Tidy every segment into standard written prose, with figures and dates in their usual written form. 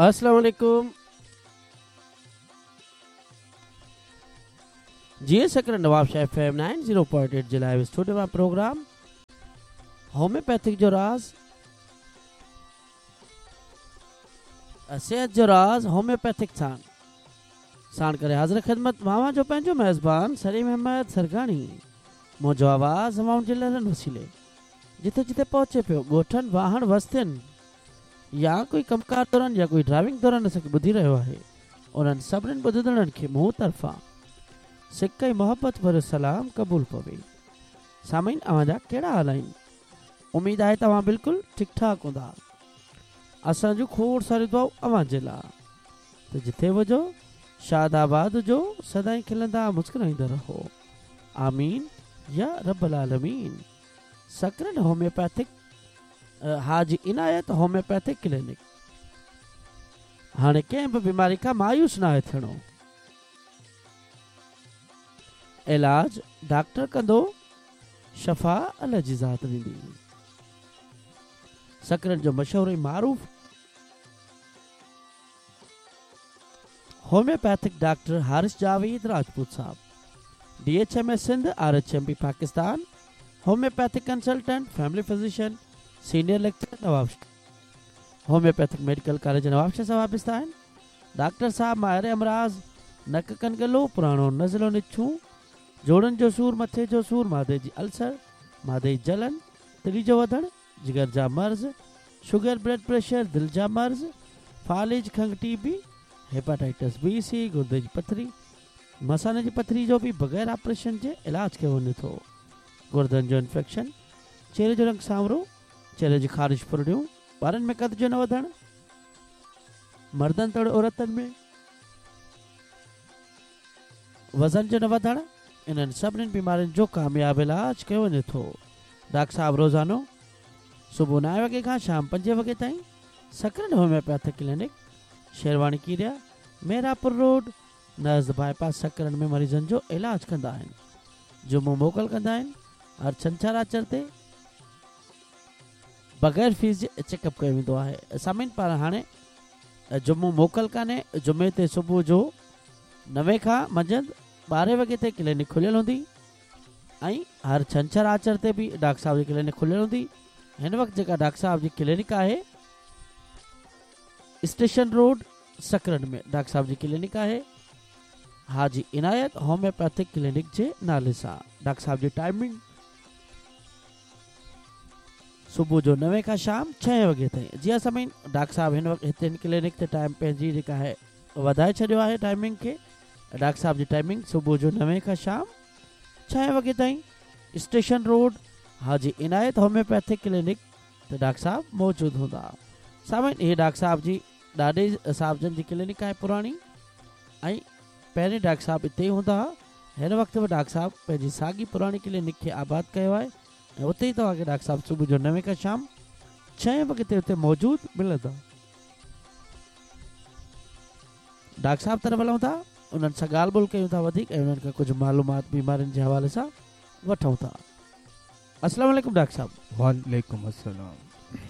السلام عليڪم جي سڪرنڊ نوابشاهه ايف ايم 90.8 جي لائيو اسٽوڊيو مان پروگرام هوميوپيٿڪ جو راز صحت جو راز هوميوپيٿڪ سان ساڻ ڪري حاضر خدمت اوهان جو پنهنجو ميزبان سليم احمد سرگاڻي منهنجو آواز هوائن جي لهرن وسيلي جٿي جٿي پهچي پيو ڳوٺن واهڻ وستين يا ڪوئي ڪم ڪار دوران يا ڪوئي ڊرائيونگ دوران اسان کي ٻڌي رهيو آهي انهن سڀني ٻڌندڙن کي مون طرفان سڪ ۽ محبت ڀريو سلام قبول پوي. سامعين اوهان جا ڪهڙا حال آهن؟ اميد آهي ته اوهان بلڪل ٺيڪ ٺاڪ هوندا. اسان جون کوڙ ساريون دعائون اوهان جي لا ته جٿي به هجو شاد آباد هجو سدائين کلندا مسڪرائيندا رهو. آمين يا رب العالمين. سڪرنڊ هوميوپيٿڪ حاجي عنايت هوميوپيٿڪ ڪلينڪ هاڻي ڪنهن به بيماري کان مايوس ناهي ٿيڻو. علاج ڊاڪٽر ڪندو، شفا الله جي ذات ڏيندي. سڪرنڊ جو مشهور ۽ معروف هوميوپيٿڪ ڊاڪٽر حارث جاويد راجپوت صاحب، D H M S Sindh, R H M P Pakistan, homeopathic consultant, family physician, senior lecturer Nawabshah, homeopathic medical college Nawabshah سان وابسته آهن. ڊاڪٽر صاحب ماهر امراض، نڪ ڪن ڳلو، پراڻو نزلو نڇون، جوڙن جو سور، مٿي جو سور، معدي جي السر، معدي جي جلن، تري جو وڌڻ، جگر جا مرض، شگر، بلڊ پريشر، دل جا مرض، فالج، کنگهه، ٽي بي، هيپاٽائٽس بي، سي، گردي جي پٿري، مثاني جي پٿري جو به بغير آپريشن جي علاج ڪيو وڃي ٿو. گردن جو انفيڪشن، چهري جو رنگ سانورو، چهري جي خارش ڦرڙيون، ٻارن ۾ قد جو نه وڌڻ، مردن توڙي عورتن ۾ وزن جو نه وڌڻ، انهن سڀني بيمارين جو ڪامياب علاج ڪيو وڃي ٿو. ڊاڪٽر صاحب روزانو صبح نائين وڳي کان شام پنجين وڳي تائين سڪرنڊ هوميوپيٿڪ ڪلينڪ، شيرواني ڪيريا، ميرانپور روڊ، نزد باء پاس سڪرنڊ ۾ مريضن جو علاج ڪندا آهن. جمعو موڪل ڪندا آهن. هر ڇنڇر آچر تي بغير فيس جي چيڪ اپ ڪيو ويندو آهي. سامعين پر هاڻي جمعو موڪل ڪانهي. جمعي تي صبح جو نوين کان منجهند ٻارهين وڳي تائين ڪلينڪ کليل هوندي ۽ هر ڇنڇر آچر تي به ڊاڪٽر صاحب جي ڪلينڪ کليل هوندي. هن وقت جيڪا ڊاڪٽر صاحب جي ڪلينڪ آهي اسٽيشن روڊ سڪرنڊ ۾ ڊاڪٽر صاحب جي ڪلينڪ آهي حاجي عنايت هوميوپيٿڪ ڪلينڪ جي نالي سان. ڊاڪٽر صاحب جي ٽائمنگ صبح جو نوين کان شام ڇهين وڳي تائين. جي ها سامعين ڊاڪٽر صاحب هن وقت هتي هن ڪلينڪ تي ٽائيم پنهنجي جيڪا آهي وڌائي ڇڏيو آهي ٽائمنگ کي. ڊاڪٽر صاحب جي ٽائمنگ صبح جو نوين کان شام ڇهين وڳي تائين اسٽيشن روڊ حاجي عنايت هوميوپيٿڪ ڪلينڪ ته ڊاڪٽر صاحب موجود هوندا. سامعين هي ڊاڪٽر صاحب جي ڏاڏي صاحب جن جي ڪلينڪ آهي پراڻي ۽ پهرين ڊاڪٽر صاحب اتي ئي هوندا ها. هن وقت به ڊاڪٽر صاحب پنهنجي ساڳي پراڻي ڪلينڪ کي آباد ڪيو آهي ۽ اتي ئي توهان کي ڊاڪٽر صاحب صبح جو نوين کان شام ڇهين وڳي تائين اتي موجود ملندا. ڊاڪٽر صاحب طرف هلون ٿا انهن سان ڳالهه ٻولهه ڪيون ٿا وڌيڪ ۽ انهن کان ڪجهه معلومات بيمارين جي حوالي سان وٺون ٿا. السلام عليڪم ڊاڪٽر صاحب. وعليڪم السلام.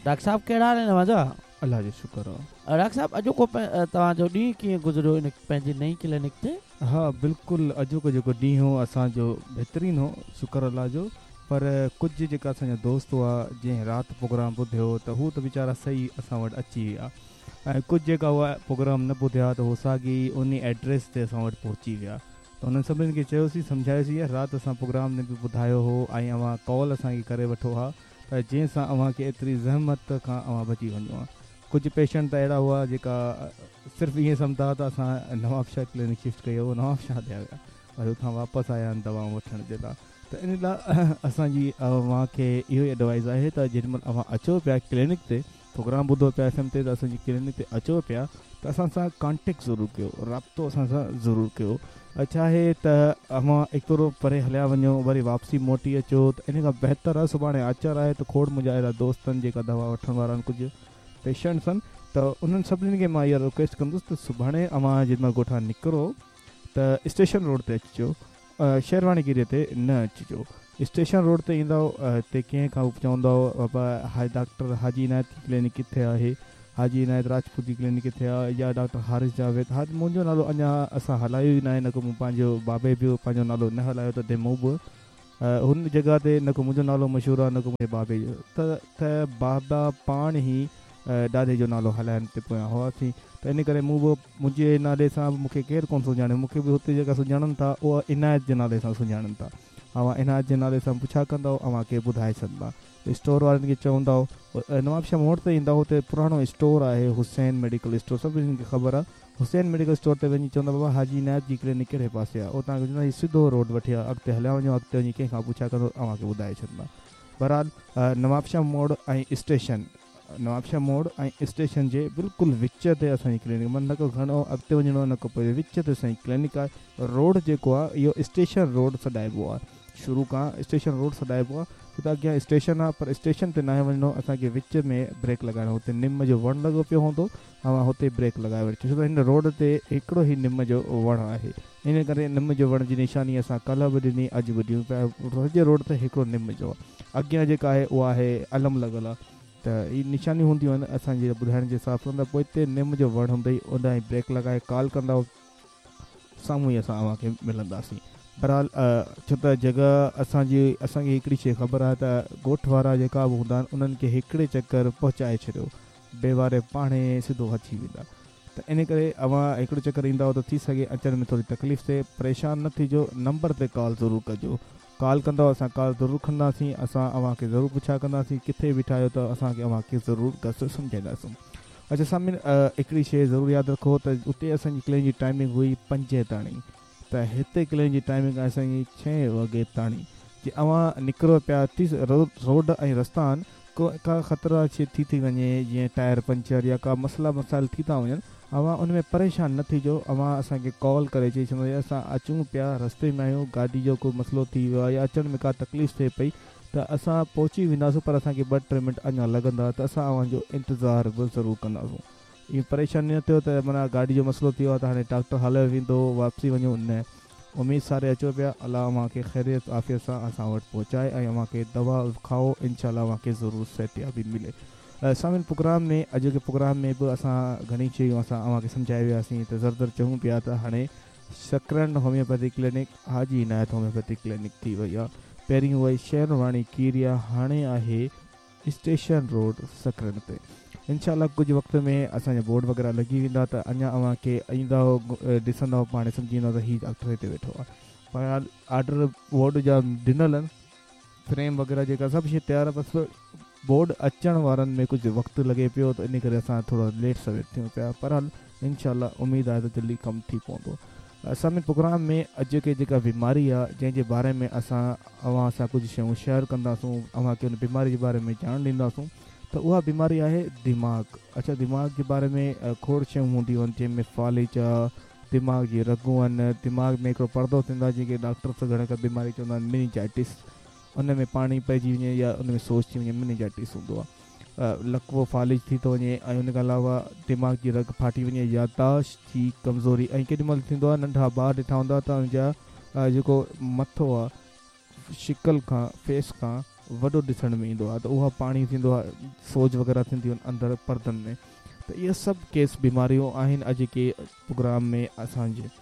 ڊاڪٽر صاحب ڪهڙا حال آهن اوهان جا؟ الله جو شڪر آ. ڊاڪٽر صاحب اڄوڪو توهان جو ڏينهن ڪيئن گذريو ان پنهنجي نئين ڪلينڪ تي؟ ها بلڪل اڄوڪو جيڪو ڏينهن هو اسان جو بهترين هو شڪر الله جو پر ڪجهه جيڪا اسان جا دوست هئا جنهن رات پروگرام ٻڌيو ته هو ته ويچارا صحيح اسان وٽ اچي ويا ۽ ڪجهه جيڪا هئا پروگرام نه ٻڌيا ته هو ساڳي انهي ايڊريس تي اسان وٽ پهچي ويا ته انهن سڀني کي چيوسين سمجهايوسين يار رات اسان پروگرام ۾ به ٻڌايو هو ۽ اوهان ڪال اسان کي ڪري وٺو ها ته جنهن سان اوهان کي ايتري زحمت کان اوهان بچي وڃو ها ڪجهه پيشنٽ ته اهڙا هئا جيڪا صرف ائين سمجهندا هئا ته اسان نوابشاهه ڪلينڪ شفٽ ڪئي هو نوابشاهه هليا ويا وري اتان واپس آيا آهن دوائون وٺڻ جي لاء ته ان لاء اسان جي اوهان کي اهو ئي ايڊوائز آهي ته جيڏي مهل اوهان اچو پيا ڪلينڪ تي پروگرام ٻڌو پيا ايف ايم تي ته اسان جي ڪلينڪ تي اچو پيا ته اسان سان ڪانٽيڪٽ ضرور ڪيو رابطو اسان سان ضرور ڪيو ڇا آهي ته اوهان ايترو پري هليا وڃو وري واپسي موٽي اچو ته ان کان بهتر آهي سڀاڻي آچر آهي ته کوڙ منهنجا اهڙا دوست آهن جيڪا دوا وٺڻ وارا آهن ڪجهه پيشنٽس آهن ته انهن سڀني کي مان اها رڪويسٽ ڪندس ته سڀاڻي اوهان جيڏي مهل ڳوٺان نڪرو ته اسٽيشن روڊ تي اچجو شيرواڻي ڪيريء تي نه اچجو. اسٽيشن روڊ تي ايندؤ ته ڪنهن کان به چوندؤ بابا ڊاڪٽر حاجي عنايت جي ڪلينڪ ڪٿي آهي؟ حاجي عنايت راجپوت جي ڪلينڪ ڪٿي آ يا ڊاڪٽر حارث جاويد ها منهنجو نالو اڃا اسان هلايو ئي ناهي نه ڪو مون پنهنجو بابي به پنهنجو نالو نه هلايو تڏهن مون به هن جڳهه تي نه ڪو منهنجو نالو مشهور آ نه ڪو منهنجي بابي جو ته ته بابا پاڻ ئي ڏاڏي جو نالو هلائڻ تي پويان هئاسين ته ان ڪري مون به منهنجي نالي سان به مون کي ڪير ڪونه سڃاڻي مون کي به هتي جيڪا سڃاڻن ٿا اها عنايت جي نالي سان سڃاڻن ٿا اوهان عنايت جي نالي سان پڇا ڪندؤ اوهان کي ٻڌائي ڇڏندا اسٽور وارن کي چوندؤ نوابشاهه موڙ تي ايندؤ اتي پراڻو اسٽور آهي حسين ميڊيڪل اسٽور سڀني کي خبر آهي حسين ميڊيڪل اسٽور تي وڃي چوندا بابا حاجي عنايت جي ڪلينڪ ڪهڙي پاسي آهي اهو توهان کي چوندا هي سڌو روڊ وٺي اڳتي هليا وڃو اڳتي وڃي ڪنهن کان پڇا ڪندو اوهان کي ٻڌائي ڇڏندا بهرحال نوابشاهه موڙ ۽ اسٽيشن نوابشاهه موڙ ۽ اسٽيشن جي بلڪل وچ تي اسان جي ڪلينڪ معنيٰ نه ڪو گهڻو اڳتي وڃڻو آهي نه ڪو پوئتي وچ تي اسان جي ڪلينڪ آهي روڊ جيڪو آهي اهو اسٽيشن روڊ سڏائبو آهي شروع کان اسٽيشن روڊ سڏائبو آ ڇو ته اڳيان اسٽيشن آ پر اسٽيشن تي ناهي وڃڻو اسان کي وچ ۾ بريڪ لڳائڻو هتي نم جو وڻ لڳو پيو هوندو اوهان هتي بريڪ لڳائي وٺجو ڇو ته هن روڊ تي هڪڙو ئي نم جو وڻ آهي ان ڪري نم جو وڻ جي نشاني اسان ڪلهه به ڏني اڄ به ڏيون پيا سڄي روڊ تي هڪڙو نم جو اڳيان جيڪا آهي اها آهي علم لڳل آ ته هي نشانيون هونديون آهن اسان جي ٻڌائڻ جي حساب سان ته پوئتي نم جو وڻ هوندئي اوڏانهن بريڪ لڳائي ڪال ڪندؤ سامهون ئي اسان اوهان کي ملنداسين. بهرحال ڇو ته جڳهه اسان جي اسان کي هڪڙي شيء خبر آهي ته ڳوٺ وارا جيڪا به هوندا آهن انهن کي هڪڙي چڪر پهچائي ڇڏيو بي واري پاڻهي سڌو اچي ويندا ته ان ڪري اوهان هڪڙو چڪر ايندؤ ته ٿي سگهي اچڻ ۾ ٿوري تڪليف ٿئي پريشان نه ٿيجو نمبر تي ڪال ضرور ڪجو ڪال ڪندؤ اسان ڪال ضرور کڻنداسين اسان اوهان کي ضرور پڇا ڪنداسين ڪٿي بيٺا آهيو ته اسان کي اوهان کي ضرور گس سمجهائينداسون اڇا سامعين هڪڙي شيء ضرور ياد رکو ته اتي اسان جي ڪلينڪ جي ٽائمنگ هئي پنجين تاڻي ته هتي ڪلينڪ جي ٽائمنگ آهي اسان جي ڇهين وڳي تاڻي جي اوهان نڪرو پيا ٿي روڊ ۽ رستا آهن ڪا خطرا شيء ٿي ٿي وڃي جيئن ٽائر پنچر يا ڪا مسئلا مسائل ٿي ٿا وڃن اوهان ان ۾ پريشان نه ٿيجو اوهان اسان کي ڪال ڪري چئي ڇڏو يا اسان اچون پيا رستي ۾ آهيون گاڏي جو ڪو مسئلو ٿي ويو آهي يا اچڻ ۾ ڪا تڪليف ٿئي پئي ته اسان پهچي وينداسون پر اسان کي ٻه ٽي منٽ اڃا لڳندا ته اسان اوهان جو انتظار به ضرور ڪنداسون ائين پريشان نه ٿيو ته معنيٰ گاڏي جو مسئلو ٿي ويو آهي ته هاڻي ڊاڪٽر هليو ويندو واپسي وڃون نه اميد ساري اچو پيا الله اوهان کي خيريت عافيت سان اسان وٽ پهچائي ۽ اوهان کي دوا کائو انشاء الله اوهان کي ضرور صحتيابي ملي سامعين پروگرام ۾ اڄوڪي پروگرام ۾ به اسان گهڻي شيون اسان اوهان کي سمجهائي وياسين ته ذري ذري چئون پيا ته هاڻي Sakrand homeopathy clinic Haji Inayat homeopathy clinic ٿي وئي آهي پهرين هئي شهرواڻي ڪيريا هاڻي آهي اسٽيشن روڊ سڪرنڊ تي انشاء الله ڪجهه وقت ۾ اسان جا بورڊ وغيره لڳي ويندا ته اڃا اوهان کي ايندؤ ڏسندؤ پاڻ سمجهي ويندؤ ته هي ڊاڪٽر هتي ويٺو آهي بهرحال آرڊر بورڊ جا ڏنل آهن فريم وغيره جيڪا سڀ شي تيار آهي بس بورڊ اچڻ وارن ۾ ڪجهه وقت لڳي پيو ته ان ڪري اسان ٿورو ليٽ سوير ٿيون پيا بهرحال انشاء الله اميد آهي ته جلدي ڪم ٿي پوندو سامعين پروگرام ۾ اڄوڪي جيڪا بيماري آ جنهن جي باري ۾ اسان اوهان سان ڪجهه شيون شيئر ڪنداسون اوهان کي ان بيماري جي باري ۾ ڄاڻ ڏينداسون ته اها بيماري آهي دماغ اڇا دماغ جي باري ۾ کوڙ شيون هونديون آهن جنهن ۾ فالج آ دماغ جي رڳون آهن دماغ ۾ هڪڙو پردو ٿيندو آهي جنهن کي ڊاڪٽر گهڻا ڪا بيماري چوندا آهن منيجائٽس ان ۾ پاڻي پئجي وڃي يا ان ۾ سوڄ ٿي وڃي منيجائٽس هوندو آ لقوو فالج ٿي ٿو وڃي ۽ ان کان علاوه دماغ جي رڳ ڦاٽي وڃي يادداشت جي ڪمزوري ۽ ڪيڏي مهل ٿيندو آهي ننڍا ٻار ڏٺا هوندا ته ان جا جيڪو مٿو آهي شڪل کان فيس کان وڏو ڏسڻ ۾ ايندو آهي ته اها پاڻي ٿيندو آهي سوج وغيره ٿينديون آهن اندر پردن ۾ ته اهي سڀ ڪيس بيماريون آهن اڄ ڪي پروگرام ۾ اسان جي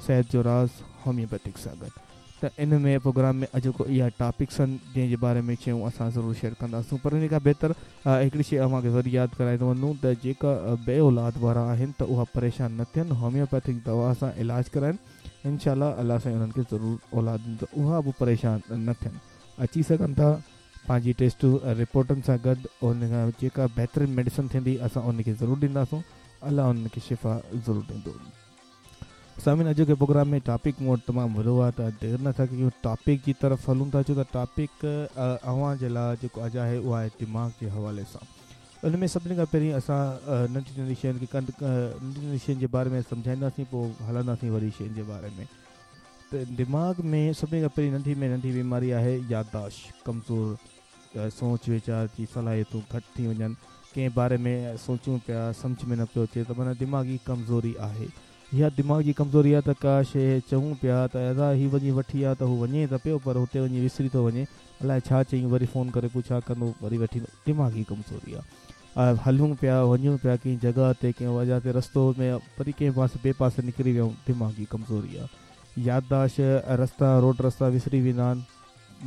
صحت جو راز هوميوپيٿڪ سان گڏ ته ان ۾ پروگرام ۾ اڄوڪو اها ٽاپڪس آهن جنهن جي باري ۾ شيون اسان ضرور شيئر ڪنداسون پر ان کان بهتر هڪڙي شي اوهان کي وري ياد ڪرائي ٿو وڃون ته جيڪا بي اولاد وارا آهن ته اها پريشان نه ٿين هوميوپيٿڪ دوا سان علاج ڪرائن انشاء الله الله سائين انهن کي ضرور اولاد ڏيندو اها به پريشان نه ٿين اچي سگهن ٿا پنهنجي ٽيسٽ رپورٽن سان گڏ ان کان جيڪا بهترين ميڊيسن ٿيندي اسان ان کي ضرور ڏينداسون الله انهن کي شفا ضرور ڏيندو. سامعين اڄوڪي پروگرام ۾ ٽاپڪ مون وٽ تمام وڏو آهي ته دير نه ٿا ڪيون ٽاپڪ جي طرف هلون ٿا ڇو ته ٽاپڪ اوهان جي لاء جيڪو اڄ آهي اهو آهي دماغ جي حوالي سان ان ۾ سڀني کان پهرين اسان ننڍي ننڍي شين کي ڪنڊ ننڍي ننڍي شين جي باري ۾ سمجهائينداسين پوء هلنداسين وڏي شين جي باري ۾ ته دماغ ۾ سڀني کان پهرين ننڍي ۾ ننڍي بيماري آهي يادداشت ڪمزور سوچ ويچار جي صلاحيتون گهٽ ٿي وڃن، ڪنهن باري ۾ سوچون پيا سمجهه ۾ نه پيو اچي ته معنيٰ دماغي ڪمزوري آهي. اها دماغ جي ڪمزوري آهي ته ڪا شيء چئون پيا ته ادا هي وڃي وٺي آ ته هو وڃي ته پيو پر هتي وڃي وسري ٿو وڃي الائي ڇا چيائين وري فون ڪري پڇا ڪندو وري وٺي ايندو دماغي ڪمزوري آهي. هلون پيا وڃون پيا ڪنهن جڳهه تي ڪنهن وجهه تي رستو ۾ وري ڪنهن پاسي ٻئي پاسي نڪري ويون دماغي ڪمزوري آ يادداشت رستا روڊ رستا وسري ويندا آهن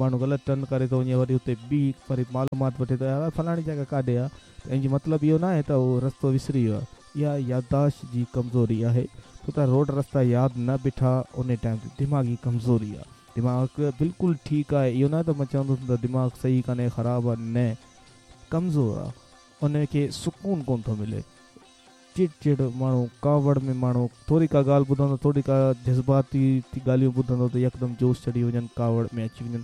ماڻهو غلط ٽرن ڪري ٿو وڃي وري اتي بيهي وري معلومات وٺي ٿو يار فلاڻي جڳهه ڪاڏي آ ته ان جو مطلب اهو ناهي ته اهو رستو وسري ويو آهي اها يادداشت جي ڪمزوري آهي ڇو ته روڊ رستا ياد نه بيٺا ان ٽائيم تي دماغي ڪمزوري آ دماغ بلڪل ٺيڪ آهي اهو نه ته مان چوندس ته دماغ صحيح ڪانهي خراب آ نه ڪمزور آ ان کي سڪون ڪونه ٿو ملي چڙ چڙ ماڻهو ڪاوڙ ۾ ماڻهو ٿوري ڪا ڳالهه ٻڌندو ٿوري ڪا جذباتي ٿي ڳالهيون ٻڌندو ته يڪدم جوش چڙهي وڃن ڪاوڙ ۾ اچي وڃن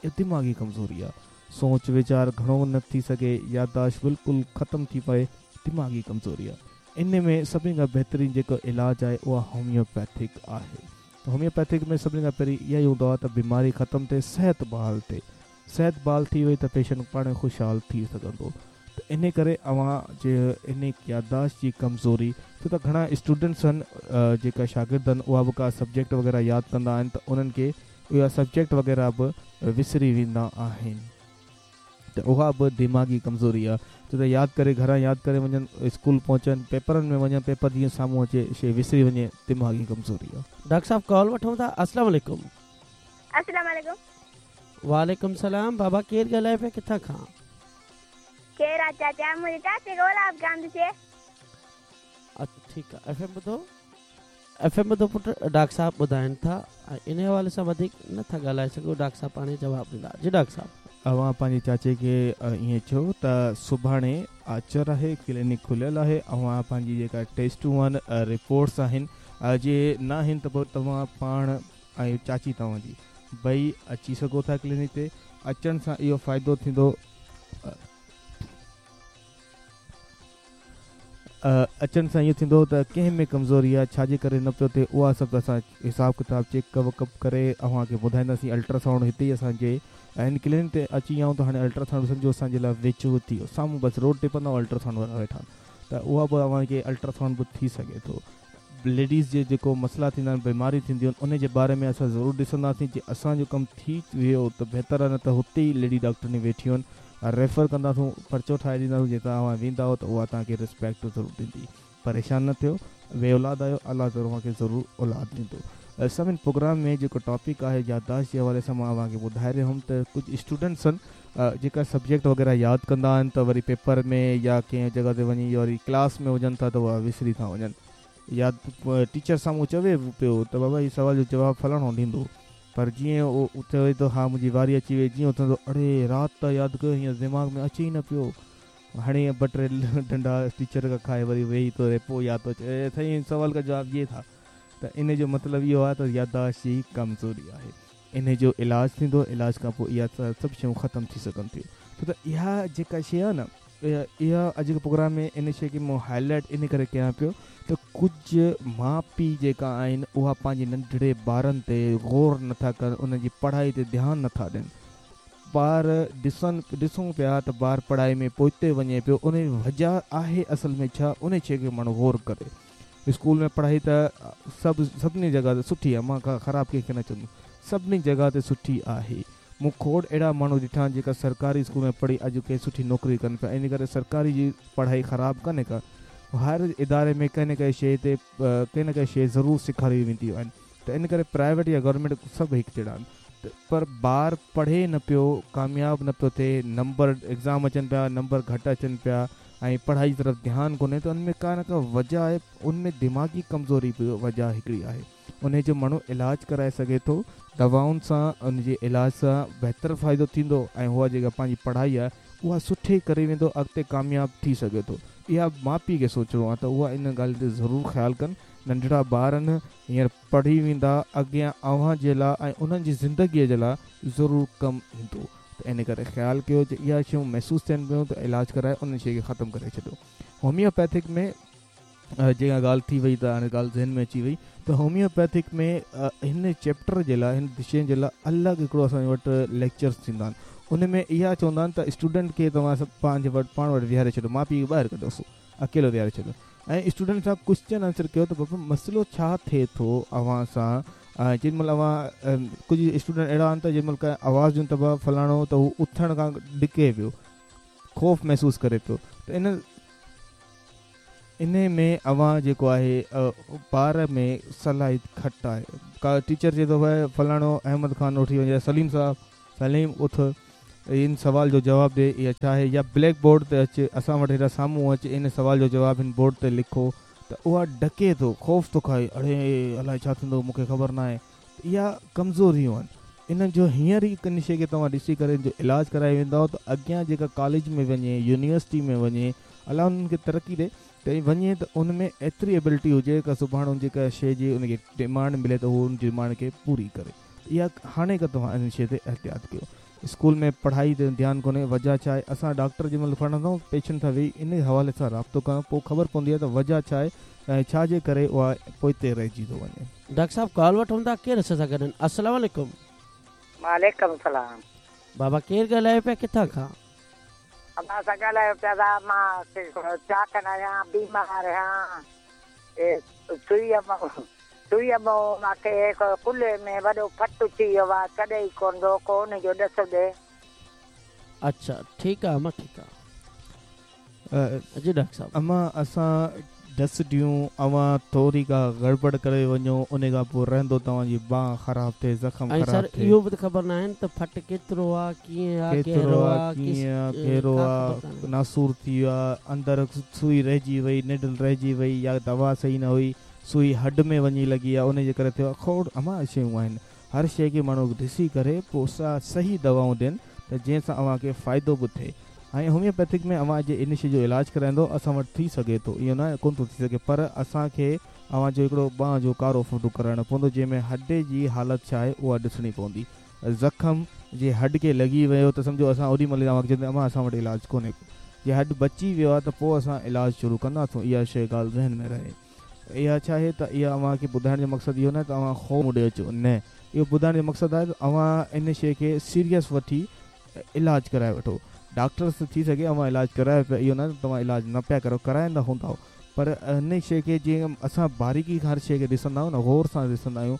اها دماغي ڪمزوري آ سوچ ويچار گهڻو نه ٿي سگهي يادداشت بلڪل ختم ٿي پئي دماغي ڪمزوري آ ان ۾ سڀني کان بهترين جيڪو علاج آهي اها هوميوپيٿڪ آهي هوميوپيٿڪ ۾ سڀني کان پهرين اها ئي هوندو آ ته بيماري ختم ٿئي صحت بحال ٿئي صحت بحال ٿي وئي ته پيشنٽ پاڻ خوشحال ٿي سگهندو ته انهي ڪري اوهان جي انهي يادداشت جي ڪمزوري ڇو ته گهڻا اسٽوڊنٽس آهن جيڪا شاگرد آهن اها به ڪا سبجيڪٽ وغيره ياد ڪندا آهن ته انهن کي اها سبجيڪٽ وغيره به وسري ويندا آهن ته اها به دماغي ڪمزوري آهي ڇو ته ياد ڪري گهران ياد ڪري وڃن اسڪول پهچن پيپرن ۾ وڃن پيپر جيئن سامهون اچي شي وسري وڃي دماغي ڪمزوري آهي. ڊاڪٽر صاحب ڪال وٺون ٿا السلام عليڪم. السلام عليڪم. وعليڪم السلام بابا ڪير ڳالهائي پيا ڪٿان کان. ڪير آ چاچا منهنجي چاچي کي اولاد ڪانه ٿي ٿئي. اڇا ٺيڪ آ ايف ايم ٻڌو ايف ايم ٻڌو پٽ ڊاڪٽر صاحب ٻڌائن ٿا ۽ انهي حوالي سان وڌيڪ نه ٿا ڳالهائي سگهون ڊاڪٽر صاحب پاڻ ئي جواب ڏيندا جي ڊاڪٽر صاحب. اوهان پنهنجي چاچي کي ائين چئو ته سڀاڻي آچر آهي ڪلينڪ کليل آهي اوهان پنهنجي جيڪا ٽيسٽون آهن رپورٽس آهن جي ناهن ته پوء توهان پاڻ ۽ چاچي توهان جي ٻئي اچي سگهو ٿا ڪلينڪ تي اچڻ سان اهو فائدو ٿيندو اچڻ سان اهو ٿيندو ته ڪنهن ۾ ڪمزوري آهي ڇا جي ڪري نه پيو ٿئي اها سڀ اسان حساب ڪتاب چيڪ وڪ ڪري اوهان کي ٻڌائينداسين الٽراسائونڊ هتي ئي اسان جي هن ڪلينڪ تي اچي ويا آهيون ته هاڻي الٽراسائونڊ سمجهو اسان جي لاء ويجهو ٿي ويو سامهون بس روڊ ٽپندو الٽراسائونڊ وارا ويٺا آهن ته اها به اوهان کي الٽراسائونڊ به ٿي سگهي ٿو ليڊيز جي جيڪو مسئلا ٿيندا آهن بيماريون ٿينديون آهن ان جي باري ۾ اسان ضرور ڏسنداسين جي اسان جو ڪم ٿي ويو ته بهتر آهي نه ته هتي ئي ليڊي ڊاڪٽرني ويٺيون آهن ريفر ڪنداسون پرچو ٺاهي ڏينداسون جي توهان ويندائو ته اها توهان کي ريسپيڪٽ ضرور ڏيندي پريشان نه ٿيو بي اولاد آهيو الله ضرور اوهان کي ضرور اولاد ڏيندو سڀن پروگرام ۾ جيڪو ٽاپڪ آهي يادداشت جي حوالي سان مان اوهان کي ٻڌائي رهيو هوم ته ڪجهه اسٽوڊنٽس آهن جيڪا سبجيڪٽ وغيره ياد ڪندا آهن ته وري پيپر ۾ يا ڪنهن جڳهه تي وڃي يا وري ڪلاس ۾ هجن ٿا ته اها وسري ٿا وڃن يا ٽيچر سامهون چوي به پيو ته بابا هي سوال جو جواب فلاڻو ڏيندو پر جيئن اهو چوي ٿو ها منهنجي واري اچي وئي جيئن اٿندو اڙي رات ته ياد ڪيو هينئر دماغ ۾ اچي ئي نه پيو هڻي ٻه ٽي ڏنڊا ٽيچر کان کائي وري ويهي ٿو رهي پوء ياد ٿو اچي سائين هن سوال کا جواب يي ٿا ته ان جو مطلب اهو آهي ته يادداشت جي ڪمزوري آهي انهي جو علاج ٿيندو علاج کان پوء اها سڀ شيون ختم ٿي سگهن ٿيون ڇو ته اها جيڪا شيء آهي نه اها اڄ جي پروگرام ۾ ان شيء کي مون هائي لائيٽ ان ڪري ڪيان پيو ته ڪجهه ماء پيء جيڪا آهن اها پنهنجي ننڍڙي ٻارن تي غور نٿا ڪن انهن جي پڙهائي تي ڌيان نٿا ڏين ٻار ڏسن ڏسون پيا ته ٻار پڙهائي ۾ پوئتي وڃي پيو ان جي وجه آهي اصل ۾ ڇا ان شيء کي ماڻهو غور ڪري اسڪول ۾ پڙهائي ته سڀ سڀني جڳهه تي سٺي آهي مان ڪا خراب ڪنهن کي نه چوندس سڀني جڳهه تي سٺي آهي مون کوڙ اهڙا ماڻهو ڏٺا آهن جيڪا سرڪاري اسڪول ۾ پڙهي اڄ ڪنهن سٺي نوڪري ڪن پيا ان ڪري سرڪاري جي پڙهائي خراب ڪانهي ڪا هر اداري ۾ ڪنهن نه ڪنهن شيء تي ڪنهن نه ڪنهن شيء ضرور سيکاري وينديون آهن ته ان ڪري پرائيويٽ يا گورنمينٽ سڀ هڪ جهڙا آهن ته پر ٻار پڙهي نه پيو ڪامياب نه پيو ٿئي نمبر ايگزام اچن پيا نمبر گهٽ اچن پيا ۽ پڙهائي جي طرف ڌيان ڪونهي ته ان ۾ ڪا نه ڪا وجه آهي ان ۾ دماغي ڪمزوري به وجه هڪڙي آهي انهي جو ماڻهو علاج ڪرائي سگهي ٿو دوائن سان ان جي علاج سان بهتر فائدو ٿيندو ۽ اها جيڪا پنهنجي پڙهائي آهي اها سٺي ڪري ويندو اڳتي ڪامياب ٿي سگهي ٿو اها ماء پيء کي سوچڻو آهي ته اها ان ڳالهه تي ضرور خيال ڪن ننڍڙا ٻار آهن هينئر پڙهي ويندا اڳيان اوهان جي لاء ۽ انهن جي زندگي جي لاء ضرور ڪم ايندو ته ان ڪري خيال ڪيو جي اها شيون محسوس ٿين پيون ته علاج ڪرائي ان شيء کي ختم ڪري ڇڏيو. هوميوپيٿڪ ۾ جيڪا ڳالهه ٿي وئي ته هاڻي ڳالهه ذهن ۾ اچي وئي ته هوميوپيٿڪ ۾ هن چيپٽر جي لاء هن شين جي لاء الڳ هڪڙو اسان وٽ ليڪچرس ٿيندا آهن ان ۾ اها چوندا آهن ته اسٽوڊنٽ کي توهان سڀ پنهنجي وٽ پاڻ وٽ ويهاري ڇڏيو ماء پيء کي ٻاهر ڪڍوس اڪيلو ويهاري ڇڏيو ۽ اسٽوڊنٽ سان ڪوئسچن آنسر ڪيو ته بابا مسئلو ڇا ٿئي ٿو اوهان سان جنهن مهل اوهان ڪجهه اسٽوڊنٽ اهڙا آهن ته جنهن مهل ڪنهن آواز ڏيون ته بابا فلاڻو ته هو اٿڻ کان ڏڪي پيو خوف محسوس ڪري پيو ته ان انهي ۾ اوهان جيڪو آهي ٻار ۾ صلاحيت گهٽ آهي. ڪا ٽيچر چئي ٿو ڀائي فلاڻو احمد خان اٿي وڃ يا سليم صاحب سليم اٿ ان سوال جو جواب ڏي اها ڇا آهي يا بليڪ بورڊ تي اچ اسان وٽ هيڏانهن سامهون اچ ان سوال جو جواب هن بورڊ تي لکو ته اها ڏڪي ٿو خوف ٿو کائي اڙي الائي ڇا ٿيندو مون کي خبر ناهي ته اها ڪمزوريون آهن انهن جو هينئر ئي ڪن شيء کي توهان ڏسي ڪري ان جو علاج ڪرائي ويندؤ ته اڳيان جيڪا ڪاليج ۾ وڃي يونيورسٽي ۾ وڃي الله انهن کي ترقي ڏي ته وڃي ته ان ۾ ايتري ايبلٽي هجي ڪا سڀاڻي ان جيڪا شيء جي ان کي ڊمانڊ ملي ته هو ان ڊمانڊ کي پوري ڪري اها هاڻي کان توهان ان شيء تي احتياط ڪيو اسڪول ۾ پڙهائي تي ڌيان ڪونهي وجهه ڇا آهي اسان ڊاڪٽر جنهن مهل پڙهندا آهيون پيشنٽ سان ويهي ان حوالي سان رابطو ڪرڻ پوء خبر پوندي آهي ته وجهه ڇا آهي ۽ ڇا جي ڪري اها پوئتي رهجي ٿو وڃي. ڊاڪٽر صاحب ڪال وٺون ٿا ڪير اسان سان گڏ آهن السلام عليڪم. وعليڪم السلام. بابا ڪير ڳالهايو پيا ڪٿان کان. ابا اسان ڳالهايو پيا ٿا مان چاڪن آهيان بيمار آهيان سوئي سوئي مان مانکي هڪ ڪلهي ۾ وڏو ڦٽ ٿي ويو آ ڇڏي ئي ڪونه ٿو ڪو ان جو ڏس ڏي. اڇا ٺيڪ آ اما ٺيڪ آ جي ڊاڪٽر صاحب. اما اسان ڏس ڏيون اوهان ٿوري ڪا گڙٻڙ ڪري وڃو ان کان پوء رهندو توهان جي ٻانهن خراب ٿئي زخم ۽ خراب سر ٿئي. اهو به ته خبر ناهن ته ڦٽ ڪيترو آ ڪيئن آ ڪيترو گهرو آ آ ڪيئن آ گهرو ڪا آ خبر ڪانهي. ناسور ٿي ويو آ اندر سوئي رهجي وئي نيڊل رهجي وئي يا دوا صحيح نه هئي سوئي هڏ ۾ وڃي لڳي آ ان جي ڪري ٿيو آ کوڙ امان شيون آهن هر شيء کي ماڻهو ڏسي ڪري پوء سا صحيح دوائون ڏين ته جنهن سان اوهان کي فائدو به ٿئي ۽ هوميوپيٿڪ ۾ اوهان جي ان شيء جو علاج ڪرائيندو اسان وٽ ٿي سگهي ٿو اهو نه ڪونه ٿو ٿي سگهي پر اسان کي اوهان جو هڪڙو ٻانهن جو ڪارو فوٽو ڪرائڻو پوندو جنهن ۾ هڏي جي حالت ڇا آهي اها ڏسڻي پوندي زخم جي هڏ کي لڳي ويو ته سمجهو اسان اوڏي مهل ئي اوهان کي چونداسين امان اسان وٽ علاج ڪونهي ڪو جي هڏ بچي ويو آهي ته پوء اسان علاج شروع ڪنداسون اها شيء ڳالهه ذهن ۾ رهي. اها ڇا آهي ته اها اوهان کي ٻڌائڻ جو مقصد اهو ناهي ته اوهان خوف مون ڏي اچو نه اهو ٻڌائڻ جو مقصد آهي ته اوهان ان شيء کي سيريس وٺي علاج ڪرائي وٺو ڊاڪٽرس ته ٿي سگهي اوهان علاج ڪرايو پيا اهو ناهي ته توهان علاج نه پيا ڪرايو ڪرائيندا هوندؤ پر ان شيء کي جيئن اسان باريڪي کان هر شيء کي ڏسندا آهيون نه غور سان ڏسندا آهيون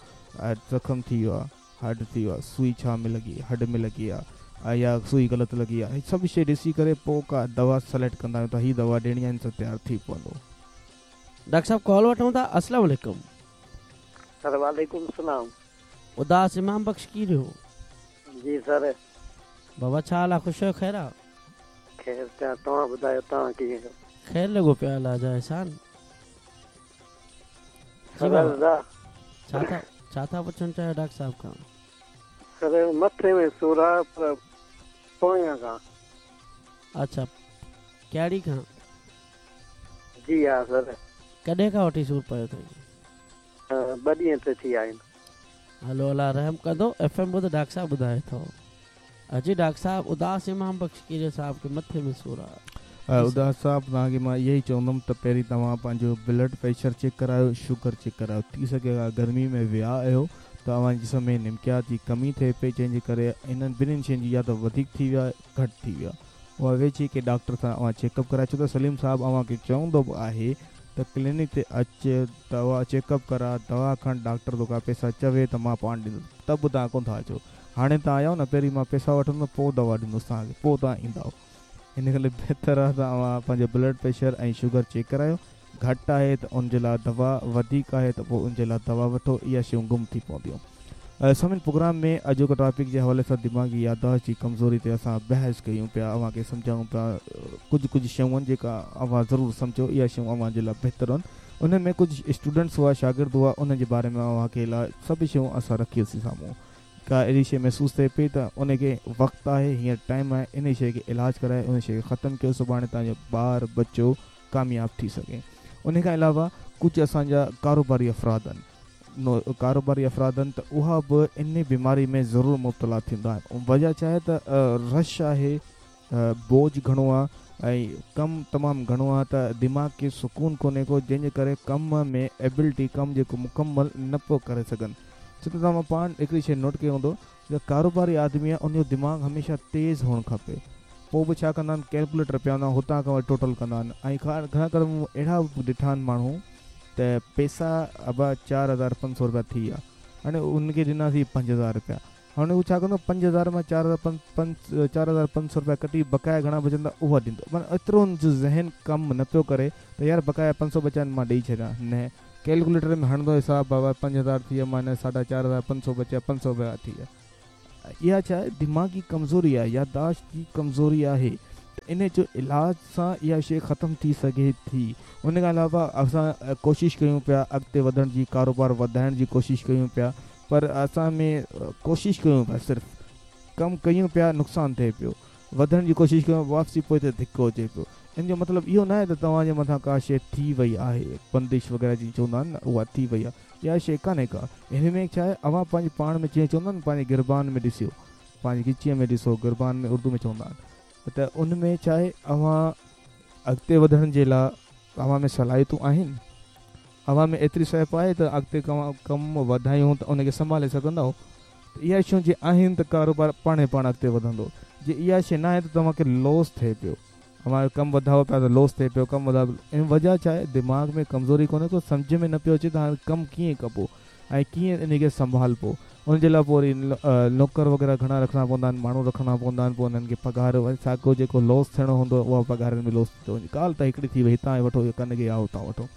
زخم ٿي ويو آهي هڏ ٿي ويو آهي سوئي ڇا ۾ لڳي هڏ ۾ لڳي آهي يا سوئي غلط لڳي آهي سڀ شيء ڏسي ڪري پوء ڪا دوا سليڪٽ ڪندا آهيون ته هي دوا ڏيڻي آهي ان سان تيار ٿي پوندو. ڊاڪٽر صاحب ڪال وٺون ٿا السلام عليڪم. سر وعليڪم السلام. اداس امام بخش ڪيريو. جي سر. بابا ڇا حال آ خوش آهيو خير آ. خير ته توهان ٻڌايو توهان ڪيئن آهيو. خير لڳو پيو آ الله جا احسان. جي بابا ڇا ٿا ڇا ٿا پڇڻ چاهيو ڊاڪٽر صاحب کان. سر مٿي ۾ سور آ پر پويان کان. اڇا ڪهڙي کان. جي ها سر. ڪڏهن کان وٺي سور پيو اٿئي. ٻه ڏينهن ته ٿي ويا آهن. هلو الله رحم ڪندو ايف ايم ٻڌ ڊاڪٽر صاحب ٻڌائي ٿو. جي ڊاڪٽر صاحب اداس امام بخش ڪيريو صاحب کي مٿي ۾ سور آ. اداس صاحب توهان کي مان اهو ئي چوندم ته پهرين توهان پنهنجو بلڊ پريشر چيڪ ڪرايو شگر چيڪ ڪرايو ٿي سگهي ٿو گرمي ۾ ويا آهيو ته اوهان جي جسم ۾ نمڪيات جي ڪمي ٿئي پئي جنهن جي ڪري انهن ٻنهين شين جي يا ته وڌيڪ ٿي ويو آهي گهٽ ٿي ويو آهي اها ويجهي ڪنهن ڊاڪٽر سان اوهان چيڪ اپ ڪرايو ڇو ته سليم صاحب اوهان کي چوندو به آهي ته ڪلينڪ تي اچ دوا چيڪ اپ ڪراء دوا کڻ ڊاڪٽر توکان پئسا چوي ته مان پاڻ ڏيندس ته به توهان ڪونه ٿا اچو هاڻي توهان آيا آهيو نه پهرين مان پئسا وٺندس پوء دوا ڏيندس توهان کي پوء توهان ايندؤ ان ڪري بهتر آهي ته اوهان پنهنجو بلڊ پريشر ۽ شگر چيڪ ڪرايو گهٽ آهي ته ان جي لاء دوا وڌيڪ آهي ته پوء ان جي لاء دوا وٺو اها شيون گم ٿي پونديون سامعين پروگرام ۾ اڄوڪو ٽاپڪ جي حوالي سان دماغي يادداشت جي ڪمزوري تي اسان بحث ڪيون پيا اوهان کي سمجهايون پيا ڪجهه ڪجهه شيون آهن جيڪا اوهان ضرور سمجهو اها شيون اوهان جي لاء بهتر آهن انهن ۾ ڪجهه اسٽوڊنٽس هئا شاگرد هئا انهن جي باري ۾ اوهان کي لاء سڀ شيون اسان رکيوسين سامهون ڪا اهڙي شيء محسوس ٿئي پئي ته ان کي وقت آهي هينئر ٽائيم آهي انهي شيء کي علاج ڪرائي ان شيء کي ختم ڪيو سڀاڻي توهان جو ٻار ٻچو ڪامياب ٿي سگهي انهي کان علاوه ڪجهه اسان جا ڪاروباري افراد آهن ڪاروباري افراد آهن ته اها به انهي بيماري ۾ ضرور مبتلا ٿيندا آهن وجه ڇا آهي ته رش آهي بوجه گهڻو آهي ۽ ڪم تمام گهڻو آهي ته دماغ کي سڪون ڪونهي ڪو جنهن جي ڪري ڪم ۾ ايبلٽي ڪم جيڪو مڪمل نه پيو ڪري سگهن ڇو ته توهان پاڻ هڪڙي شي نوٽ ڪيو هوندو جيڪو ڪاروباري آدمي آهي ان جو دماغ هميشه تيز هئڻ کپي پوء به ڇا ڪندا آهن ڪيلڪوليٽر پيا هوندا آهن هتان کان وري ٽوٽل ڪندا آهن ۽ گهڻا ڪري مون اهڙا به ڏٺا آهن ماڻهو ته پيسا ابا 4500 رپيا ٿي ويا هاڻي ان کي ڏناسين 5000 رپيا هاڻي هو ڇا ڪندو 5000 مان 4500 رپيا ڪٽي بقايا گهڻا بچندا اها ڏيندو معنيٰ ايترو هن جو ذهن ڪم نه پيو ڪري ته يار بقايا 500 بچيا آهن مان ڏئي ڇڏيان نه ڪيلڪوليٽر ۾ هڻندو حساب بابا 5000 ٿي ويا مائنس ساڍا 4500 بچيا 500 رپيا ٿي ويا. اها ڇا آهي دماغي ڪمزوري آهي يادداشت جي ڪمزوري آهي ته ان جو علاج سان اها شيء ختم ٿي سگهي ٿي ان کان علاوه اسان ڪوشش ڪيون پيا اڳتي وڌڻ جي ڪاروبار وڌائڻ جي ڪوشش ڪيون پيا پر اسان ۾ ڪوشش ڪيون پيا صرف ڪم ڪيون پيا نقصان ٿئي پيو وڌڻ جي ڪوشش ڪيون واپسي پوئتي ڌڪو اچي پيو ان جو مطلب اهو ناهي ته توهان جي مٿان ڪا شيء ٿي وئي آهي بندش وغيره جيئن چوندا آهن نه اها ٿي وئي آهي اها شيء ڪانهي ڪا. هن ۾ ڇا آهي، اوهان پنهنجي پاڻ ۾ جيئن چوندا آهن نه پنهنجي گربان ۾ ڏسيو، پنهنجي ڳچيء ۾ ڏسو، گربان ۾ اردو ۾ چوندا آهن ته ان ۾ ڇا آهي اوهان اڳتي وڌڻ جي لاء اوهان ۾ صلاحيتون آهن؟ اوهان ۾ ايتري سهپ آهي ته اڳتي ڪم وڌايون ته ان کي سنڀالي سگهندؤ؟ ته اها شيون جي آهن ته ڪاروبار پاڻهي پاڻ اڳتي وڌندو، جي اها شيء ناهي ته توهان کي لوس ٿئي پيو. اوهان جو ڪم وڌايو پيا ته لوس ٿئي پيو ڪم وڌايو ان وجه ڇا آهي دماغ ۾ ڪمزوري ڪونهي ڪو سمجهه ۾ نه پيو اچي ته هاڻي ڪم ڪيئن ڪبو ۽ ڪيئن ان کي سنڀالبو ان جي لاء پوء وري نوڪر وغيره گهڻا رکڻا پوندا آهن ماڻهو رکڻا پوندا آهن پوء انهن کي پگهار وري ساڳيو جيڪو لوس ٿيڻو هوندو آهي اها پگهارن ۾ لوس ٿي ٿو وڃي ڳالهه ته هڪڙي ٿي وئي هتان هي وٺو ڪن کي يا هتان وٺو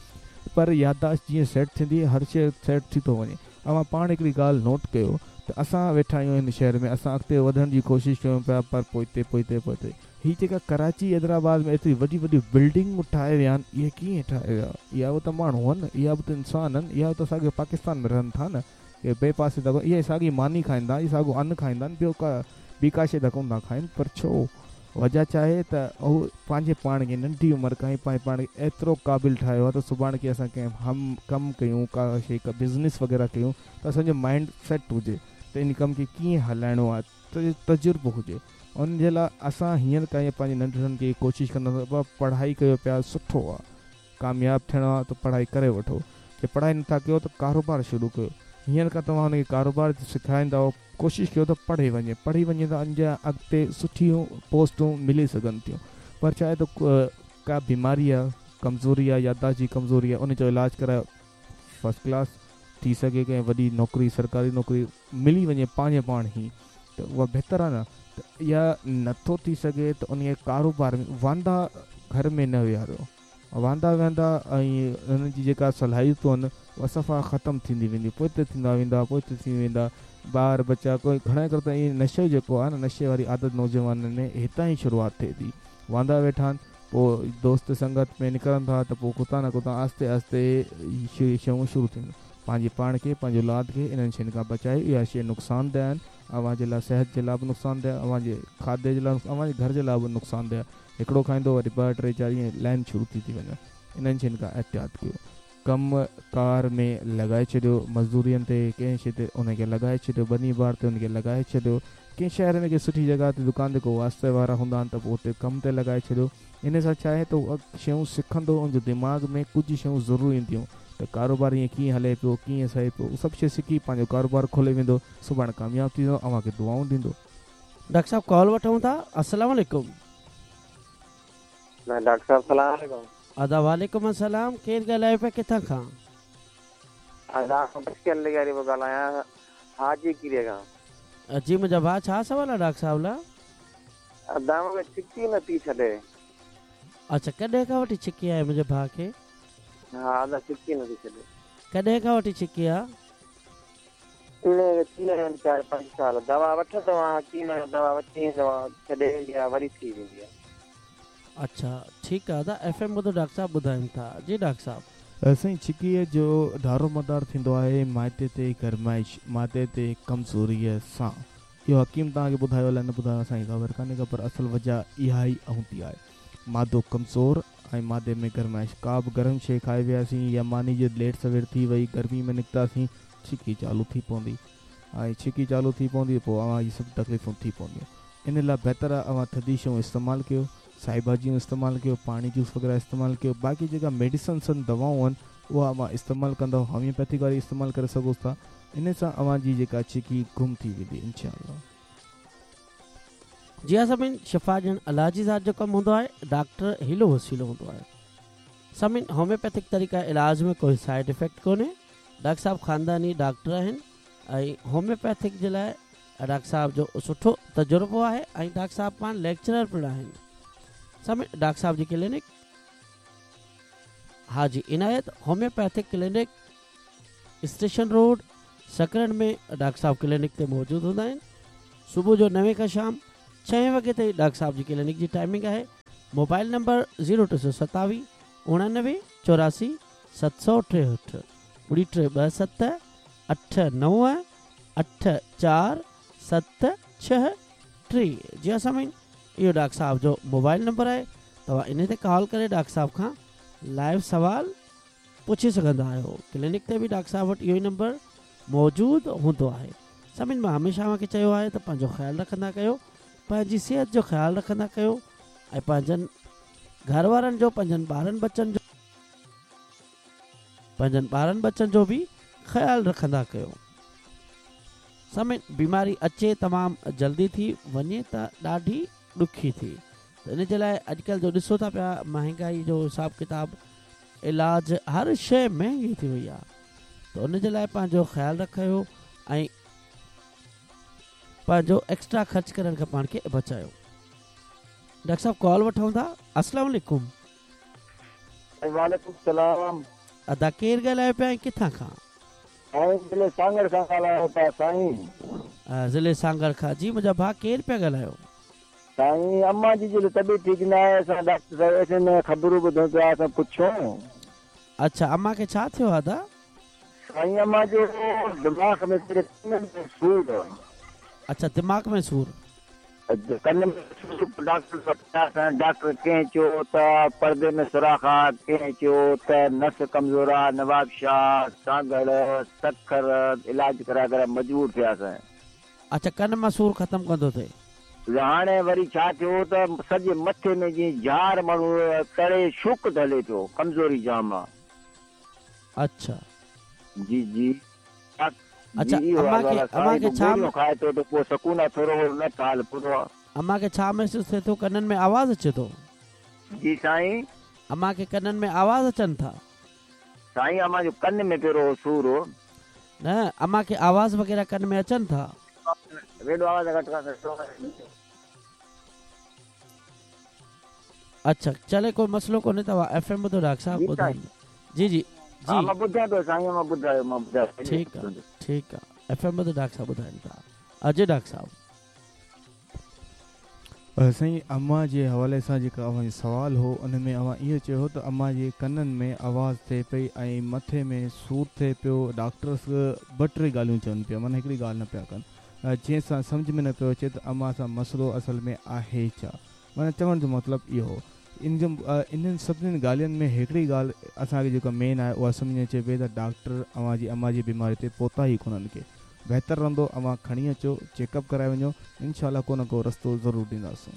پر يادداشت جيئن سيٽ ٿيندي هر شيء سيٽ ٿي ٿو وڃي اوهان پاڻ هڪڙي ڳالهه نوٽ ڪيو ته اسان ويٺا آهيون هن شهر ۾ اسان اڳتي وڌڻ جي ڪوشش ڪيون پيا پر پوئتي پوئتي پوئتي هي جيڪا ڪراچي حيدرآباد ۾ ايتري وڏي وڏي بلڊنگون ٺاهي ويا آهن اهي ڪيئن ٺاهي ويا اها به ته ماڻهو آهن اها به ته انسان آهن اها به ته ساڳيو پاڪستان ۾ رهن ٿا نه ڪي ٻئي پاسي ته اهي ساڳي ماني کائين ٿا اهي ساڳو ان کائين ٿا ٻيو ڪا ٻي ڪا شيء ته ڪونه ٿا کائين پر ڇو وجه ڇا آهي ته هو پنهنجي پاڻ کي ننڍي عمر کان ئي پنهنجي پاڻ کي ايترو قابل ٺاهيو آهي ته سڀاڻ ڪي اسان ڪنهن هم ڪم ڪيون ڪا شيء ڪا بزنس وغيره ڪيون ته اسان جو مائنڊ سيٽ هجي ته ان ڪم کي ڪيئن هلائڻو آهي ته تجربو هجي ان جي لاء اسان هينئر تائين پنهنجي ننڍڙن کي ڪوشش ڪنداسين ته بابا پڙهائي ڪيو پيا سٺو آ ڪامياب ٿيڻو آ ته پڙهائي ڪري وٺو جي پڙهائي نٿا ڪيو ته ڪاروبار شروع ڪيو هينئر کان توهان ان کي ڪاروبار سيکاريندؤ ڪوشش ڪيو ته پڙهي وڃي پڙهي وڃي ته اڃا اڳتي سٺيون پوسٽون ملي سگهن ٿيون پر ڇا آهي ته ڪا بيماري آ ڪمزوري آ يادداشت جي ڪمزوري آ ان جو علاج ڪرايو فرسٽ ڪلاس ٿي سگهي ڪنهن وڏي نوڪري سرڪاري نوڪري ملي وڃي پنهنجي پاڻ ئي ته اها بهتر آهي نه ته يا نٿو ٿي سگهي ته انهي ڪاروبار ۾ واندا گهر ۾ نه ويهاريو واندا ويهندا ۽ انهن جي جيڪا صلاحيتون آهن اها صفا ختم ٿيندي ويندي پوئتي ٿيندا ويندا پوئتي ٿي ويندا ٻار ٻچا ڪوئي گهڻا ڪري ته ائين نشو جيڪو آهي نه نشي واري عادت نوجوانن ۾ هتان ئي شروعات ٿئي ٿي واندا ويٺا آهن پوء دوست سنگت ۾ نڪرن ٿا ته پوء ڪٿان نه ڪٿان آهستي آهستي اهي شيون شروع ٿين. پنهنجي پاڻ کي، پنهنجي اولاد کي انهن شين کان بچايو. اها شيء نقصانده آهن. اوهان جي لاء صحت جي لاء به نقصانده آهي، اوهان جي کاڌي جي لاء، اوهان جي گهر جي لاء به نقصانده آهي. هڪڙو کائيندو وري ٻه ٽي چار ائين لائين شروع ٿي ٿي وڃي. انهن شين کان احتياط ڪيو. ڪم ڪار ۾ لڳائي ڇڏيو، مزدورين تي ڪنهن شيء تي ان کي لڳائي ڇڏيو، ٻني ٻار تي ان کي لڳائي ڇڏيو، ڪنهن شهر ۾ ڪنهن سٺي جڳهه تي دڪان تي ڪو واسطي وارا هوندا آهن ته پوء اتي ڪم تي لڳائي ڇڏيو، ان سان ڇا آهي ته هو شيون سکندو ان جو دماغ ۾ ڪجهه شيون ضرور اينديون ته ڪاروبار ائين ڪيئن هلي پيو ڪيئن سهي پيو سڀ شيء سکي پنهنجو ڪاروبار کولي ويندو سڀاڻي ڪامياب ٿي ويندو اوهان کي دعائون ڏيندو. ڊاڪٽر صاحب ڪال وٺون ٿا السلام عليڪم. ڊاڪٽر صاحب سلام عليڪم. ادا وعليڪم السلام ڪير ڳالهايو پيا ڪٿان کان. ادا آئون بشير لغاري پيو ڳالهايان حاجي ڪيريي کان. جي منهنجا ڀاء ڇا سوال آ ڊاڪٽر صاحب لاء. ادا مون کي ڇڪي نه ٿي ڇڏي. اڇا ڪڏهن کان وٺي ڇڪي آهي منهنجي ڀاء کي. ها ادا ڇڪي نه ٿي ڇڏي. ڪڏهن کان وٺي ڇڪي آ. ان کي ٿي ويا آهن چار پنج سال دوا وٺندو آهيان حڪيم کان دوا وٺي ايندو آهيان ڇڏي ويندي آهي وري ٿي ويندي آهي. اڇا ٺيڪ آ ادا ايف ايم ٻڌو ڊاڪٽر صاحب ٻڌائين ٿا جي ڊاڪٽر صاحب. سائين ڇڪيء جو دارومدار ٿيندو آهي معدي تي گرمائش معدي تي ڪمزوريء سان اهو حڪيم توهان کي ٻڌايو الائي نه ٻڌايو اسان کي خبر ڪانهي ڪا پر اصل وجه اها ئي هوندي آهي معدو ڪمزور ۽ معدي ۾ گرمائش ڪا به گرم شيء کائي وياسين يا ماني جي ليٽ سوير ٿي وئي گرمي ۾ نڪتاسين ڇڪي چالو ٿي پوندي ۽ ڇڪي چالو ٿي پوندي پوء اوهان جي سڀ تڪليفون ٿي پونديون ان لاء بهتر آهي اوهان ٿڌي شيون استعمال ڪيو سائي ڀاڄيون استعمال ڪيو پاڻي جوس وغيره استعمال ڪيو باقي جيڪا ميڊيسنس آهن دوائون آهن اها اوهان استعمال ڪندؤ هوميوپيٿڪ واري استعمال ڪري سگهو ٿا ان سان اوهان جي جيڪا ڇڪي گم ٿي ويندي انشاء الله. جي ها سامعين شفا ڏيڻ الله جي ذات جو ڪم هوندو آهي ڊاڪٽر حيلو وسيلو هوندو آهي سامعين هوميوپيٿڪ طريقه علاج ۾ ڪوئي سائيڊ افيڪٽ ڪونهي ڊاڪٽر صاحب خانداني ڊاڪٽر آهن ۽ هوميوپيٿڪ جي لاء ڊاڪٽر صاحب جو سٺو تجربو آهي ۽ ڊاڪٽر صاحب پاڻ ليڪچرر پڻ آهن. سامعين ڊاڪٽر صاحب جي clinic Haji Inayat homeopathic clinic station road Sakrand ۾ doctor صاحب ڪلينڪ تي موجود هوندا آهن. صبح جو نوين کان شام ڇهين وڳي تائين ڊاڪٽر صاحب جي ڪلينڪ جي ٽائمنگ آهي. موبائل نمبر زيرو ٽي سؤ ستاويهه اڻانوي چوراسي ست سؤ ٽيهٺ ٻڙي ٽي ٻه ست اٺ نو اٺ چار ست ڇهه ٽي جي ها سامعين اهو ڊاڪٽر صاحب جو موبائل نمبر آهي توهان انهي تي ڪال ڪري ڊاڪٽر صاحب کان لائيو سوال پڇي سگهندا آهيو ڪلينڪ تي به ڊاڪٽر صاحب وٽ اهو ئي نمبر موجود هوندو آهي سامعين مان هميشه اوهان کي چيو آهي ته پنهنجو خيال رکندا ڪيو پنهنجي صحت جو خيال رکندا ڪيو ۽ پنهنجن گهر وارن جو پنهنجن ٻارن ٻچن جو پنهنجن ٻارن ٻچن جو به خيال رکندا ڪيو. سامعين بيماري اچي تمام جلدي ٿي وڃي ته ڏاڍي ڏکي ٿي ته ان جي لاء اڄڪلهه جو ڏسو ٿا پيا مهانگائي جو حساب ڪتاب علاج هر شيء مهنگي ٿي وئي آهي ته ان جي لاء پنهنجو خيال رکيو ۽ پنهنجو ايڪسٽرا خرچ ڪرڻ کان پاڻ کي بچايو. ڊاڪٽر صاحب ڪال وٺون ٿا السلام عليڪم. وعليڪم السلام. ادا ڪير ڳالهايو پيا ۽ ڪٿان کان؟ سائين ضلعي سانگهڙ کان ڳالهايو پيا سائين. ضلعي سانگهڙ کان جي منهنجا ڀاء ڪير پيا ڳالهايو؟ سائين امان جي جي طبيعت ٺيڪ نه آهي اسان ڊاڪٽر صاحب ايف ايم ۾ خبرون ٻڌون پيا اسان پڇون. اڇا امان کي ڇا ٿيو آ ادا؟ سائين امان جو دماغ ۾ پهرين ڪنن ۾ سور. اڇا دماغ ۾ سور. ڪن ۾ سور پوء ڊاڪٽر وٽ وياسين ڊاڪٽر ڪنهن چيو ته پردي ۾ سوراخ آ ڪنهن چيو ته نس ڪمزور آ نوابشاهه سانگهڙ سکر علاج ڪرائي ڪرائي مجبور ٿياسين. اڇا ڪن مان سور ختم ڪونه ٿو ٿئي. هاڻي وري ڇا ٿيو ته سڄي مٿي ۾ جيئن جهار ماڻهو تڙي شوڪ هلي پيو ڪمزوري جام آ. اڇا. جي جي اڇا جي اهو امان حال کي آ امان سائين کي پوء ڇا گوريون کائي ٿو ته پوء سڪون آ ٿورو گهڻو نه ته حال پورو آ. امان کي ڇا محسوس ٿئي ٿو ڪنن ۾ آواز اچي ٿو. جي سائين. امان کي ڪنن ۾ آواز اچن ٿا. سائين امان جو ڪن ۾ پهريون هو سور هو. نه امان کي آواز وغيره ڪن ۾ اچن ٿا. ريڊو آواز گهٽ ڪر. اڇا چلي ڪوئي مسئلو ڪونهي توهان ايف ايم ٻڌو ڊاڪٽر صاحب جي سائين. ٻڌائيندا جي جي ها جي مان ٻڌان پيو سائين مان ٻڌايو مان ٻڌايو ٺيڪ آ ٺيڪ آ ايف ايم ٻڌو ڊاڪٽر صاحب ٻڌائين ٿا جي ڊاڪٽر صاحب. سائين امان جي حوالي سان جيڪا اوهان جو سوال هو ان ۾ اوهان اهو چيو هو ته امان جي ڪنن ۾ آواز ٿئي پئي ۽ مٿي ۾ سور ٿئي پيو ڊاڪٽرس ٻه ٽي ڳالهيون چون پيا معنيٰ هڪڙي ڳالهه نه پيا ڪن جنهن سان سمجهه ۾ نه پيو اچي ته امان سان مسئلو اصل ۾ آهي ڇا؟ معنيٰ چوڻ جو مطلب اهو هو. ان جو انهن سڀني ڳالهين ۾ هڪڙي ڳالهه اسان کي جيڪا مين آهي اها سمجهه ۾ اچي پئي ته ڊاڪٽر اوهان جي امان جي بيماري تي پهتا ئي ڪونهن ڪي. بهتر رهندو اوهان کڻي اچو چيڪ اپ ڪرائي وڃو انشاء الله ڪو نه ڪو رستو ضرور ڏينداسون.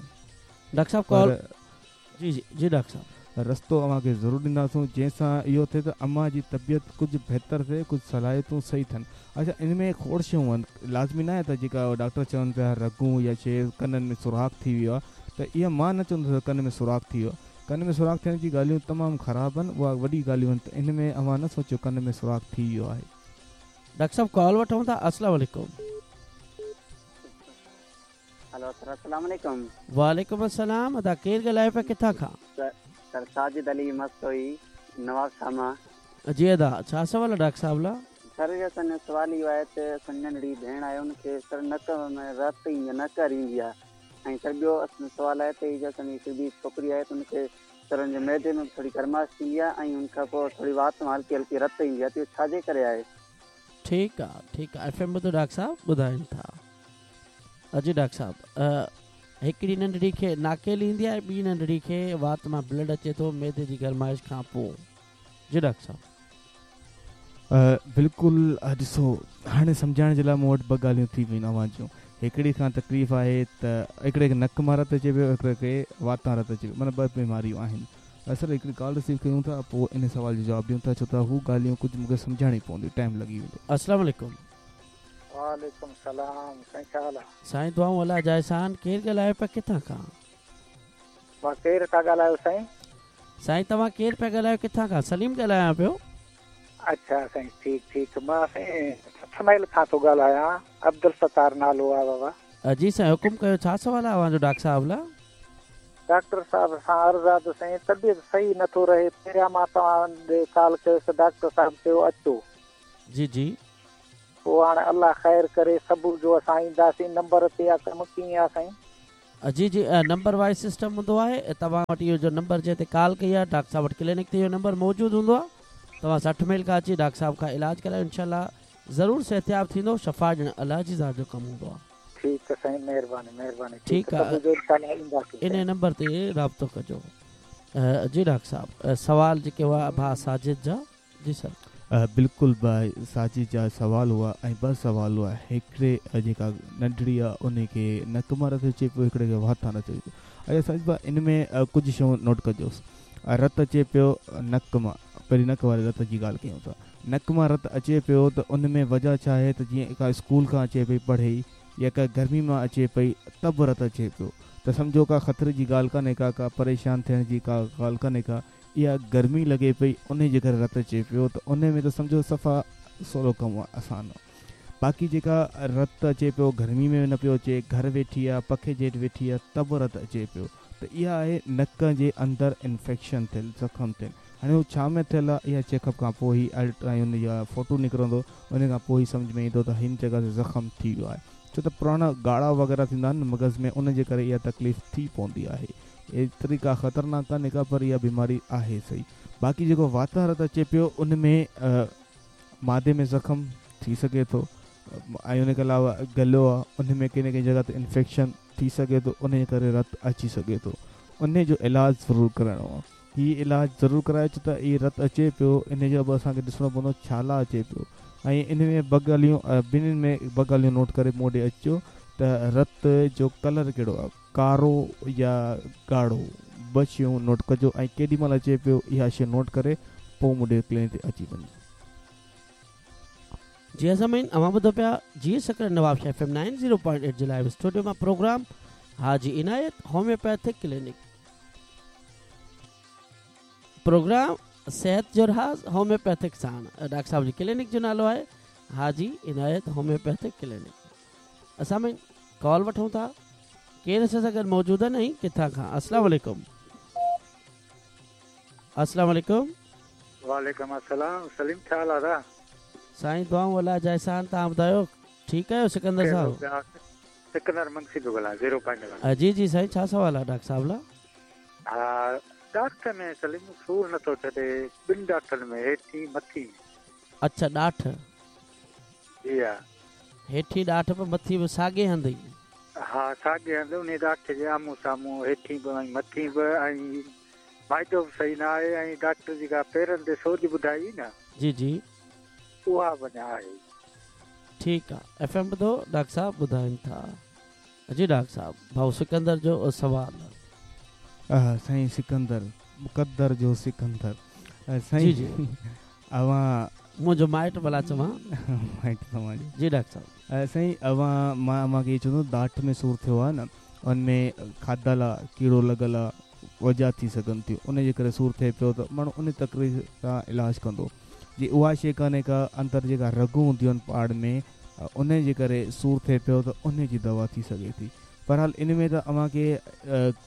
ڊاڪٽر صاحب ڪال پر جي جي جي ڊاڪٽر صاحب. رستو اوهان کي ضرور ڏينداسون جنهن سان اهو ٿئي ته امان جي طبيعت ڪجهه بهتر ٿئي ڪجهه صلاحيتون صحيح ٿين اڇا ان ۾ کوڙ شيون آهن لازمي ناهي ته جيڪا ڊاڪٽر چون پيا رڳون يا شي ڪنن ۾ سوراخ ٿي ويو آهي ته اها مان نه چوندس ته ڪن ۾ سوراخ ٿي ويو آهي ڪن ۾ سوراخ ٿيڻ جي ڳالهيون تمام خراب آهن اها وڏي ڳالهيون آهن ته ان ۾ اوهان نه سوچيو ڪن ۾ سوراخ ٿي ويو آهي. ڊاڪٽر صاحب ڪال وٺون ٿا السلام عليڪم. هلو سر السلام عليڪم. وعليڪم السلام ادا ڪير ڳالهايو پيا ڪٿان کان. سر ساجد علي مستوئي نواب شاهه مان. جي ادا ڇا سوال آ ڊاڪٽر صاحب لا. سر اسان جو سوال اهو آهي ته اسان جي ننڍڙي ڀيڻ آهي ان کي سر نڪ ۾ رت ايندي آهي نڪر ايندي آهي ۽ سر ٻيو اسان جو سوال آهي ته هي جو اسان جي هڪ ٻي ڇوڪري آهي ته ان کي سر ان جي معدي ۾ به ٿوري گرمائش ٿيندي آهي ۽ ان کان پوء ٿوري وات مان هلڪي هلڪي رت ايندي آهي ته اهو ڇا جي ڪري آهي. ٺيڪ آ ٺيڪ آ ايف ايم ٻڌو ڊاڪٽر صاحب ٻڌائين ٿا. جي ڊاڪٽر صاحب هڪڙي ننڍڙي کي ناڪيل ايندي آهي ٻي ننڍڙي کي وات مان بلڊ اچي ٿو معدي جي گرمائش کان پوء جي ڊاڪٽر صاحب. بلڪل ڏسو هاڻي سمجهائڻ جي لاء مون وٽ ٻه ڳالهيون ٿي ويون اوهان جون هڪڙي کان تڪليف آهي ته هڪڙي کي نڪ مان رت اچي پيو هڪڙي کي واتان رت اچي پيو معنيٰ ٻه بيماريون آهن اصل هڪڙي ڪال رسيو ڪيون ٿا پوء ان سوال جو جواب ڏيون ٿا ڇو ته هو ڳالهيون ڪجهه مون کي سمجهائڻيون پونديون ٽائيم لڳي ويندو. السلام عليڪم. وعليڪم السلام سائين ڇا حال آ. سائين دعائون الله جا احسان ڪير ڳالهايو پيا ڪٿان کان. مان ڪير ٿا ڳالهايو سائين. سائين توهان ڪير پيا ڳالهايو ڪٿان کان سليم ڳالهايان پيو. اڇا سائين ٺيڪ ٺيڪ مان سائين 8 ميل کان ٿو ڳالهايان، عبدالستار نالو آ بابا. جي سائين حڪم ڪيو ڇا سوال آ اوهان جو ڊاڪٽر صاحب لا؟ ڊاڪٽر صاحب سان عرض آ ته سائين طبيعت صحيح نه ٿو رهي پهريان مان توهان ڏي ڪال ڪيس ڊاڪٽر صاحب چيو اچو. جي جي. پوء هاڻ الله خير ڪري صبح جو اسان اينداسين نمبر تي آ ڪم ڪيئن آ سائين. جي جي نمبر وائز سسٽم هوندو آهي توهان وٽ اهو جو نمبر جنهن تي ڪال ڪئي آهي ڊاڪٽر صاحب وٽ ڪلينڪ تي اهو نمبر موجود هوندو آهي توهان 60 ميل کان اچي ڊاڪٽر صاحب کان علاج ڪرايو انشاء الله ضرور صحتياب ٿيندو شفا ڏيڻ الله جي ذات جو ڪم هوندو آهي. ٺيڪ سائين مهرباني مهرباني ٺيڪ صبح جو انشاء الله اينداسين انهي نمبر تي رابطو ڪجو جي ڊاڪٽر صاحب سوال جيڪي هئا ڀاء ساجد جا جي سر. بلڪل ڀاء ساجد جا سوال هئا ۽ ٻه سوال هئا هڪڙي جيڪا ننڍڙي آ انهي کي نڪ مان رت اچي پيو هڪڙي کي وات مان رت اچي پيو اچا ساجد ڀاء ان ۾ ڪجهه شيون نوٽ ڪجوس رت اچي پيو نڪ مان پهرين نڪ واري رت جي ڳالهه ڪيون ٿا نڪ مان رت اچي پيو ته ان ۾ وجه ڇا آهي ته جيئن ڪا اسڪول کان اچي پئي پڙهي يا ڪا گرمي مان اچي پئي ته به رت اچي پيو ته سمجهو ڪا خطري جي ڳالهه ڪانهي ڪا ڪا پريشان ٿيڻ جي ڪا ڳالهه ڪانهي ڪا اها گرمي لڳي پئي انهي جي ڪري رت اچي پيو ته انهي ۾ ته سمجهو صفا سولو ڪم آ آسان آ باقي جيڪا رت اچي پيو گرمي ۾ نه پيو اچي گهر ويٺي آ پکي جي هيٺ ويٺي آ ته به رت اچي پيو ته اها آهي نڪ جي اندر انفيڪشن ٿيل زخم ٿيل هاڻي هو ڇا ۾ ٿيل آ اها چيڪ اپ کان پوء ئي الٽرا ان جا فوٽو نڪرندو انهي کان پوء ئي سمجهه ۾ ايندو ته هن جڳهه تي زخم ٿي ويو آهي ڇو ته پراڻا ڳاڙها وغيره ٿيندا آهن نه مغز ۾ ان جي ڪري اها تڪليف ٿي پوندي آهي ايتري ڪا خطرناڪ ڪانهي ڪا پر اها بيماري آهي سهي باقي جيڪو واتان رت اچي پيو ان ۾ معدي ۾ زخم ٿي سگهي ٿو ۽ ان کان علاوه گلو آ ان ۾ ڪنهن نه ڪنهن جڳهه تي انفيڪشن ٿي سگهي ٿو ان جي ڪري رت اچي سگهي ٿو ان جو علاج ضرور ڪرائڻو آ هي علاج ضرور ڪرايو ڇو ته هي رت اچي پيو ان جو به اسان کي ڏسڻو پوندو ڇا لا اچي پيو ۽ ان ۾ ٻه ڳالهيون ٻنهين ۾ ٻه ڳالهيون نوٽ ڪري مون ڏي اچجو ته رت جو ڪلر ڪهڙو آ ڪارو يا ڳاڙهو ٻه شيون نوٽ ڪجو ۽ ڪيڏي مهل اچي پيو اها شي نوٽ ڪري پوء مون ڏي ڪلينڪ تي اچي وڃجو. جي سامعين اوهان ٻڌو پيا جي Sakrand Nawabshah F M 90.8 جي لائيو اسٽوڊيو مان پروگرام حاجي عنايت هوميوپيٿڪ ڪلينڪ پروگرام صحت جو راز هوميوپيٿڪ ساڻ ڊاڪٽر صاحب جي ڪلينڪ جو نالو آهي حاجي عنايت هوميوپيٿڪ ڪلينڪ. سامعين ڪال وٺون ٿا ڪير اسان سان گڏ موجود آهن ۽ ڪٿان کان السلام عليڪم السلام عليڪم. وعليڪم السلام سليم ڇا حال آ. سائين دعائون الله جا احسان توهان ٻڌايو ٺيڪ آهيو سڪندر صاحب. سڪندر منگسي پيو ڳالهايان زيرو پوائنٽ کان. جي جي سائين ڇا سوال آ ڊاڪٽر صاحب لا. ها ڏاٺ ۾ سليم سور نٿو ڇڏي ٻن ڏاٺن ۾ هيٺين مٿين. اڇا ڏاٺ. جي ها. هيٺين ڏاٺ به مٿين به ساڳئي هنڌ ئي. ها ساڳئي هنڌ انهي ڏاٺ جي آمهون سامهون هيٺين به ۽ مٿين به ۽ معدو به صحيح نه آهي ۽ ڊاڪٽر جيڪا پيرن تي سوڄ ٻڌائي هئي نه. جي جي. اها به اڃا آهي. ٺيڪ آ ايف ايم ٻڌو ڊاڪٽر صاحب ٻڌائين ٿا. جي ڊاڪٽر صاحب ڀائو سڪندر جو سوال. سائين سڪندر مقدر جو سڪندر سائين جي جي اوهان منهنجو مائٽ ڀلا چوان. مائٽ توهان جو. جي ڊاڪٽر صاحب. سائين اوهان مان اوهان کي اهو چوندس ڏاٺ ۾ سور ٿيو آهي نه ان ۾ کاڌل آ ڪيڙو لڳل آ وجه ٿي سگهن ٿيون ان جي ڪري سور ٿئي پيو ته ماڻهو ان تڪليف سان علاج ڪندو جي اها شي ڪانهي ڪا اندر جيڪا رڳون هونديون آهن پاڙ ۾ ان جي ڪري سور ٿئي پيو ته ان جي دوا ٿي سگهي ٿي بهرحال ان ۾ ته اوهان کي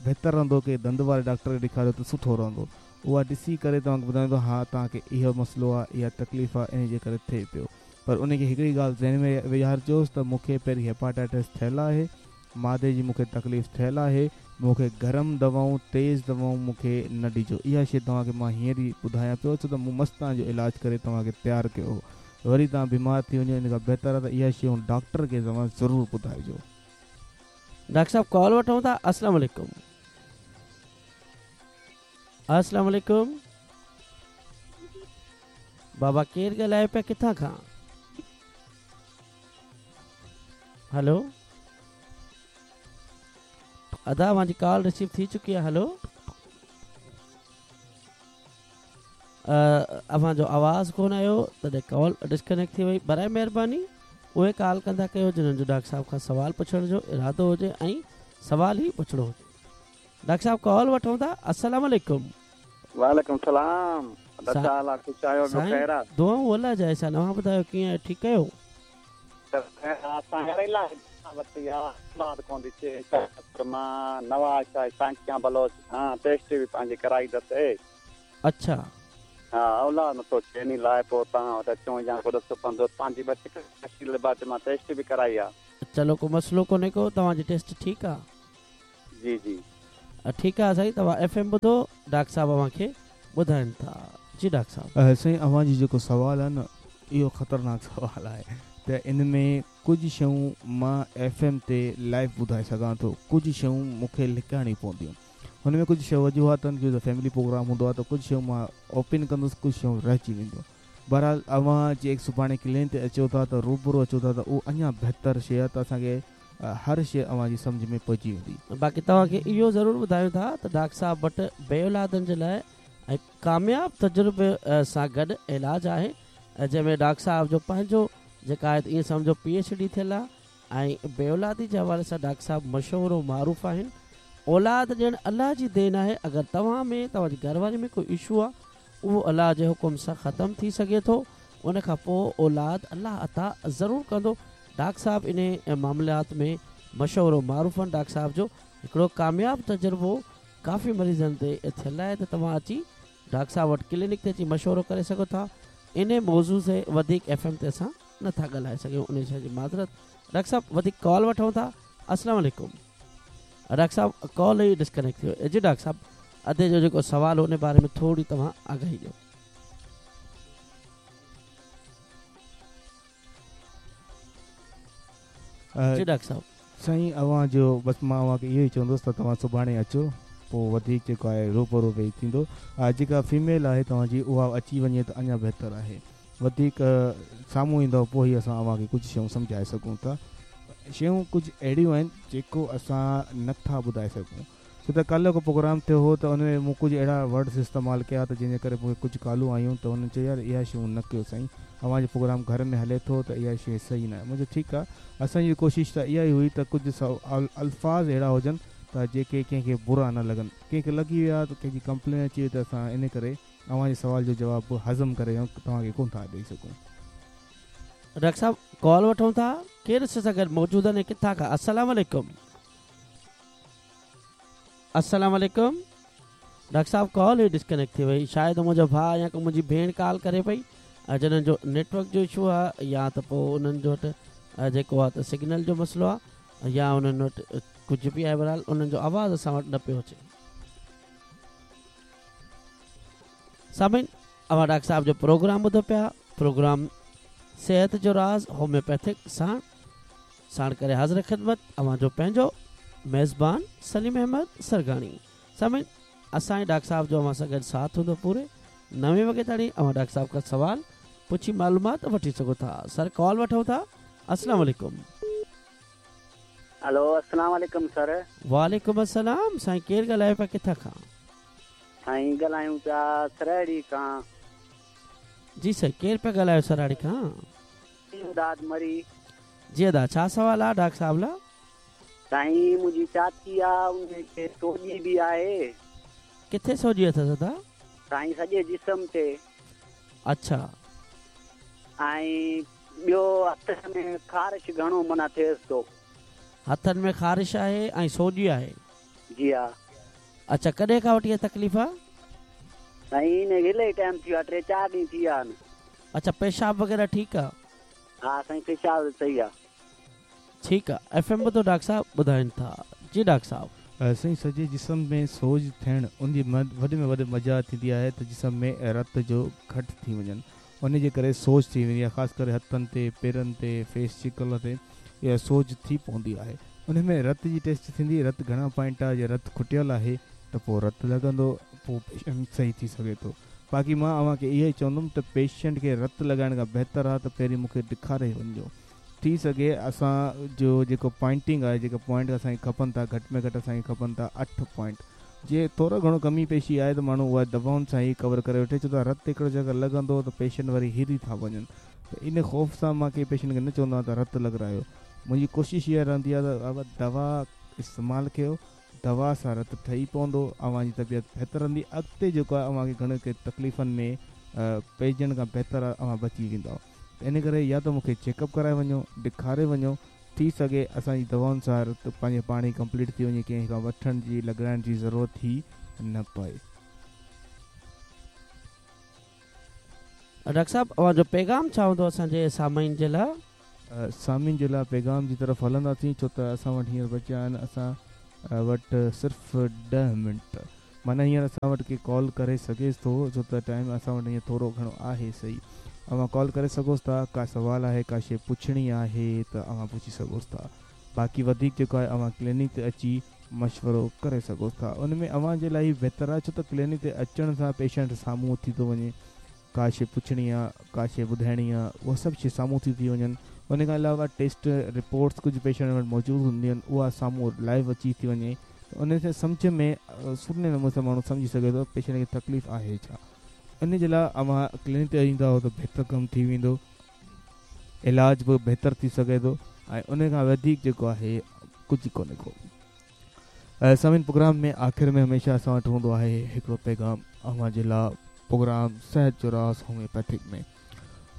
بهتر رهندو ڪي ڏند واري ڊاڪٽر کي ڏيکاريو ته سٺو رهندو اها ڏسي ڪري توهان کي ٻڌائيندو ها توهان کي اهو مسئلو آهي اها تڪليف آهي ان جي ڪري ٿئي پيو پر ان کي هڪڙي ڳالهه ذهن ۾ ويهارجوس ته مون کي پهرين هيپاٽائٽس ٿيل آهي معدي جي مون کي تڪليف ٿيل آهي مون کي گرم دوائون تيز دوائون مون کي نه ڏجو اها شيء توهان کي مان هينئر ئي ٻڌايان پيو ڇو ته مون مس توهان جو علاج ڪري توهان کي تيار ڪيو هو وري توهان بيمار ٿي وڃو ان کان بهتر آهي ته اها شيون ڊاڪٽر کي توهان ضرور ٻڌائجو. ڊاڪٽر صاحب ڪال وٺون ٿا السلام عليڪم. السلام عليڪم بابا ڪير ڳالهايو پيا ڪٿان کان هلو ادا اوهان جي ڪال رسيو ٿي چڪي آهي هلو اوهان جو آواز ڪون آيو تڏهن ڪال ڊسڪنيڪٽ ٿي وئي برائي مهرباني اهي ڪال ڪندا ڪيو جنهن جو ڊاڪٽر صاحب کان سوال پڇڻ جو ارادو هجي ۽ سوال ئي پڇڻو هجي ڊاڪٽر صاحب ڪال وٺون ٿا السلام عليڪم. وعليڪم السلام ادا ڇا حال آ خوش آهيو ٻيو خير آ. دعائون الله جا احسان اوهان ٻڌايو ڪيئن آهيو ٺيڪ آهيو. असां वटि आहे कोन थी थिए। मां नवाज़ शाह सांकिया बलोच खां टेस्ट बि पंहिंजी कराई अथसि। अच्छा। हा, औलाद नथो थिए, इन लाइ पोइ तव्हां वटि अचूं या को ॾिसो पवंदो। पंहिंजी बि मां टेस्ट बि कराई आहे। चलो, को मसइलो कोन्हे को, तव्हांजी टेस्ट ठीकु आहे। जी जी। ठीकु आहे साईं, तव्हां एफ एम ॿुधो, डॉक्टर साहिबु अव्हांखे ॿुधाइनि था। जी डॉक्टर साहिबु। साईं, अव्हांजी जेको सवालु आहे न, इहो ख़तरनाक सवालु आहे त इन में कुझु शयूं मां एफ एम ते लाइव ॿुधाए सघां थो, कुझु शयूं मूंखे लिकाइणी पवंदियूं। हुन में कुझु शयूं वजूहात आहिनि, जो फैमिली प्रोग्राम हूंदो आहे त कुझु शयूं मां ओपन कंदुसि, कुझु शयूं रहिजी वेंदियूं। बहरहाल अव्हां जे सुभाणे क्लिनिक ते अचो था त रूबरू अचो था त उहो अञा बहितर शइ आहे त असांखे हर शइ अव्हांजी सम्झ में पइजी वेंदी। बाक़ी तव्हांखे इहो ज़रूरु ॿुधायूं था त डॉक्टर साहिबु वटि बेऔलादनि जे लाइ ऐं कामयाब तजुर्बे सां गॾु इलाज आहे, जंहिंमें डॉक्टर साहिबु जो पंहिंजो जेका आहे ईअं सम्झो PhD थियल आहे ऐं बेऔलादी जे हवाले सां डॉक्टर साहिबु मशहूरु मारूफ़ आहिनि। औलाद ॾियणु अलाह जी then आहे। अगरि तव्हां में तव्हांजी घरवारी में कोई इशू आहे, उहो अलाह जे हुकुम सां ख़तमु थी सघे थो। उन खां पोइ औलाद अलाह अता ज़रूरु कंदो। डॉक्टर साहिबु इन मामलात में मशहूरु मारूफ़ आहिनि। डॉक्टर साहिबु जो हिकिड़ो कामयाब तजुर्बो काफ़ी मरीज़नि ते थियल आहे त तव्हां अची डॉक्टर साहिबु वटि क्लिनिक ते अची मशवरो करे सघो था। इन मौज़ू ते वधीक एफ एम ते असां नथा ॻाल्हाए सघूं, उन शइ जी माज़रत। डॉक्टर साहिबु, वधीक कॉल वठूं था। अस्सलाम वालेकुम। डॉक्टर साहिबु, कॉल ई डिस्कनेक्ट थी वियो। जी डॉक्टर साहिबु, अदे जो जेको सवाल हो उन बारे में थोरी तव्हां आगाही ॾियो। जी डॉक्टर साहिबु। साईं, अव्हांजो बसि मां अव्हांखे इहो ई चवंदुसि त तव्हां सुभाणे अचो, पोइ वधीक जेको आहे रूबरू वेही थींदो। जेका फीमेल आहे तव्हांजी, उहा अची वञे त अञा बहितर आहे। वधीक साम्हूं ईंदव पोइ ई असां अव्हांखे कुझु शयूं सम्झाए सघूं था। शयूं कुझु अहिड़ियूं आहिनि जेको असां नथा ॿुधाए सघूं, छो त काल्ह को प्रोग्राम थियो हो त हुन में मूं कुझु अहिड़ा वर्ड्स इस्तेमालु कया त जंहिंजे करे मूंखे कुझु कॉलूं आयूं त हुननि चयो, यार इहा शयूं न कयो साईं, अव्हांजो प्रोग्राम घर में हले थो त इहा शइ सही न आहे। मुंहिंजो ठीकु आहे, असांजी कोशिशि त इहा ई हुई त कुझु अल्फाज़ अहिड़ा हुजनि त जेके कंहिंखे बुरा न लॻनि। कंहिंखे लॻी विया त कंहिंजी कंप्लेन अची वई त असां इन करे अव्हांजे सवाल जो जवाबु हज़म करे तव्हांखे कोन था ॾेई सघूं। डॉक्टर साहिबु, कॉल वठूं था। केरु सां गॾु मौजूदु आहिनि, किथां खां? अस्सलाम वालेकुम। अस्सलाम वालेकुम। डॉक्टर साहिबु, कॉल ई डिस्कनेक्ट थी वई। शायदि मुंहिंजो भाउ या को मुंहिंजी भेण कॉल करे पई, जिन्हनि जो नेटवर्क जो इशू आहे या त पोइ उन्हनि जो वटि जेको आहे त सिग्नल जो मसइलो आहे या उन्हनि वटि कुझु बि आहे, बहरहाल उन्हनि जो आवाज़ असां वटि न पियो अचे। सामिन, अव्हां डॉक्टर साहिबु जो प्रोग्राम ॿुधो पिया। प्रोग्राम सेहत जो राज़ होम्योपैथिक साण साण करे हाज़िर ख़िदमत अव्हांजो पंहिंजो मेज़बान सलीम अहमद सरगाणी। सामिन, असांजे डॉक्टर साहिबु जो अव्हां सां गॾु साथ हूंदो पूरे 9 वॻे ताईं। अव्हां डॉक्टर साहिबु खां सवाल पुछी मालूमात वठी सघो था। सर, कॉल वठूं था। अस्सलाम वालेकुम। हेलो, अस्सलाम वालेकुम सर। वालेकुम अस्सलाम। साईं, केरु ॻाल्हायो पिया, किथां खां? साईं, ॻाल्हायूं पिया सराड़ी खां। जी सर, केरु पिया ॻाल्हायो सराड़ी खां? इमदाद मरी। जी अदा, छा सवाल आहे डॉक्टर साहिबु लाइ? साईं, मुंहिंजी चाची आहे, उनखे सोजी बि आहे। किथे सोजी अथसि अदा? साईं, सॼे जिस्म ते। अच्छा। ऐं ॿियो हथ में ख़ारिश घणो माना थिएसि थो। हथनि में ख़ारिश आहे ऐं सोजी आहे? जी हा। अच्छा, कॾहिं खां वठी इहा तकलीफ़ आहे? साईं, इन इलाही टाइम थी वियो आहे, 3-4 ॾींहं थी विया आहिनि। अच्छा, पेशाब वग़ैरह ठीकु आहे? हा साईं, पेशाब सही आहे। ठीकु आहे। एफ एम ॿुधो, डॉक्टर साहिबु ॿुधाइनि था। जी डॉक्टर साहिबु। साईं, सॼे जिस्म में सोज थियणु उनजी वॾे में वॾी मजा थींदी आहे त जिस्म में रत जो घटि थी वञनि, उन जे करे सोज थी वेंदी आहे। ख़ासि करे हथनि ते, पेरनि ते, फेस शकिल ते इहा सोज थी पवंदी आहे। उन में रत जी टेस्ट थींदी, रत घणा पॉइंट आहे, जे रत खुटियल आहे त पोइ रत लॻंदो, पोइ पेशेंट सही थी सघे थो। बाक़ी मां अव्हांखे इहो ई चवंदुमि त पेशेंट खे रत लॻाइण खां बहितर आहे त पहिरीं मूंखे ॾेखारे वञिजो। थी सघे असांजो जेको पॉइंटिंग आहे, जेका पॉइंट असांखे खपनि था, घटि में घटि असांखे खपनि था 8 पॉइंट। जे थोरो घणो कमी पेशी आहे त माण्हू उहा दवाउनि सां ई कवर करे वठे, छो त रत हिकिड़ो जॻह लॻंदो त पेशेंट वरी हिरी था वञनि। त इन ख़ौफ़ सां मां कंहिं पेशेंट खे न चवंदो आहियां त रत लॻारायो। मुंहिंजी कोशिशि इहा रहंदी आहे त दवा इस्तेमालु कयो, दवा सां रत ठही पवंदो, अव्हांजी तबियत बहितर रहंदी। अॻिते जेको आहे अव्हांखे घणे कंहिं तकलीफ़नि में पइजण खां बहितर आहे, अव्हां बची वेंदव। ته ان ڪري يا ته مون کي چيڪ اپ ڪرائي وڃو، ڏيکاري وڃو، ٿي سگهي اسان جي دوائن سان رت پنهنجي پاڻ ئي ڪمپليٽ ٿي وڃي ڪنهن کان وٺڻ جي لڳرائڻ جي ضرورت ئي نه پئي. ڊاڪٽر صاحب اوهان جو پيغام ڇا هوندو اسان جي سامعين جي لاء؟ سامعين جي لاء پيغام جي طرف هلنداسين ڇو ته اسان وٽ هينئر بچيا آهن اسان وٽ صرف ڏهه منٽ معنيٰ هينئر اسان وٽ ڪي ڪال ڪري سگهيس ٿو ڇو ته ٽائيم اسان وٽ هينئر ٿورو گهڻو آهي سهي اوهان ڪال ڪري سگهوس ٿا ڪا سوال آهي ڪا شي پڇڻي آهي ته اوهان پڇي سگهوس ٿا باقي وڌيڪ جيڪو آهي اوهان ڪلينڪ تي اچي مشورو ڪري سگهوس ٿا ان ۾ اوهان جي لاء ئي بهتر آهي ڇو ته ڪلينڪ تي اچڻ سان پيشنٽ سامهون ٿي ٿو وڃي ڪا شي پڇڻي آ ڪا شي ٻڌائڻي آ اها سڀ شي سامهون ٿي ٿي وڃن ان کان علاوه ٽيسٽ رپورٽس ڪجهه پيشنٽ وٽ موجود هونديون آهن اها سامهون لائيو اچي ٿي وڃي ته ان کي سمجهه ۾ سولي نموني سان ماڻهو سمجهي سگهي ٿو پيشنٽ کي تڪليف آهي ڇا ان جي لاء اوهان ڪلينڪ تي ايندا ته بهتر ڪم ٿي ويندو علاج به بهتر ٿي سگهي ٿو ۽ ان کان وڌيڪ جيڪو آهي ڪجهه ڪونهي ڪو. سامعين پروگرام ۾ آخر ۾ هميشه اسان وٽ هوندو آهي هڪڙو پيغام اوهان جي لاء پروگرام صحت جو راز هوميوپيٿڪ ۾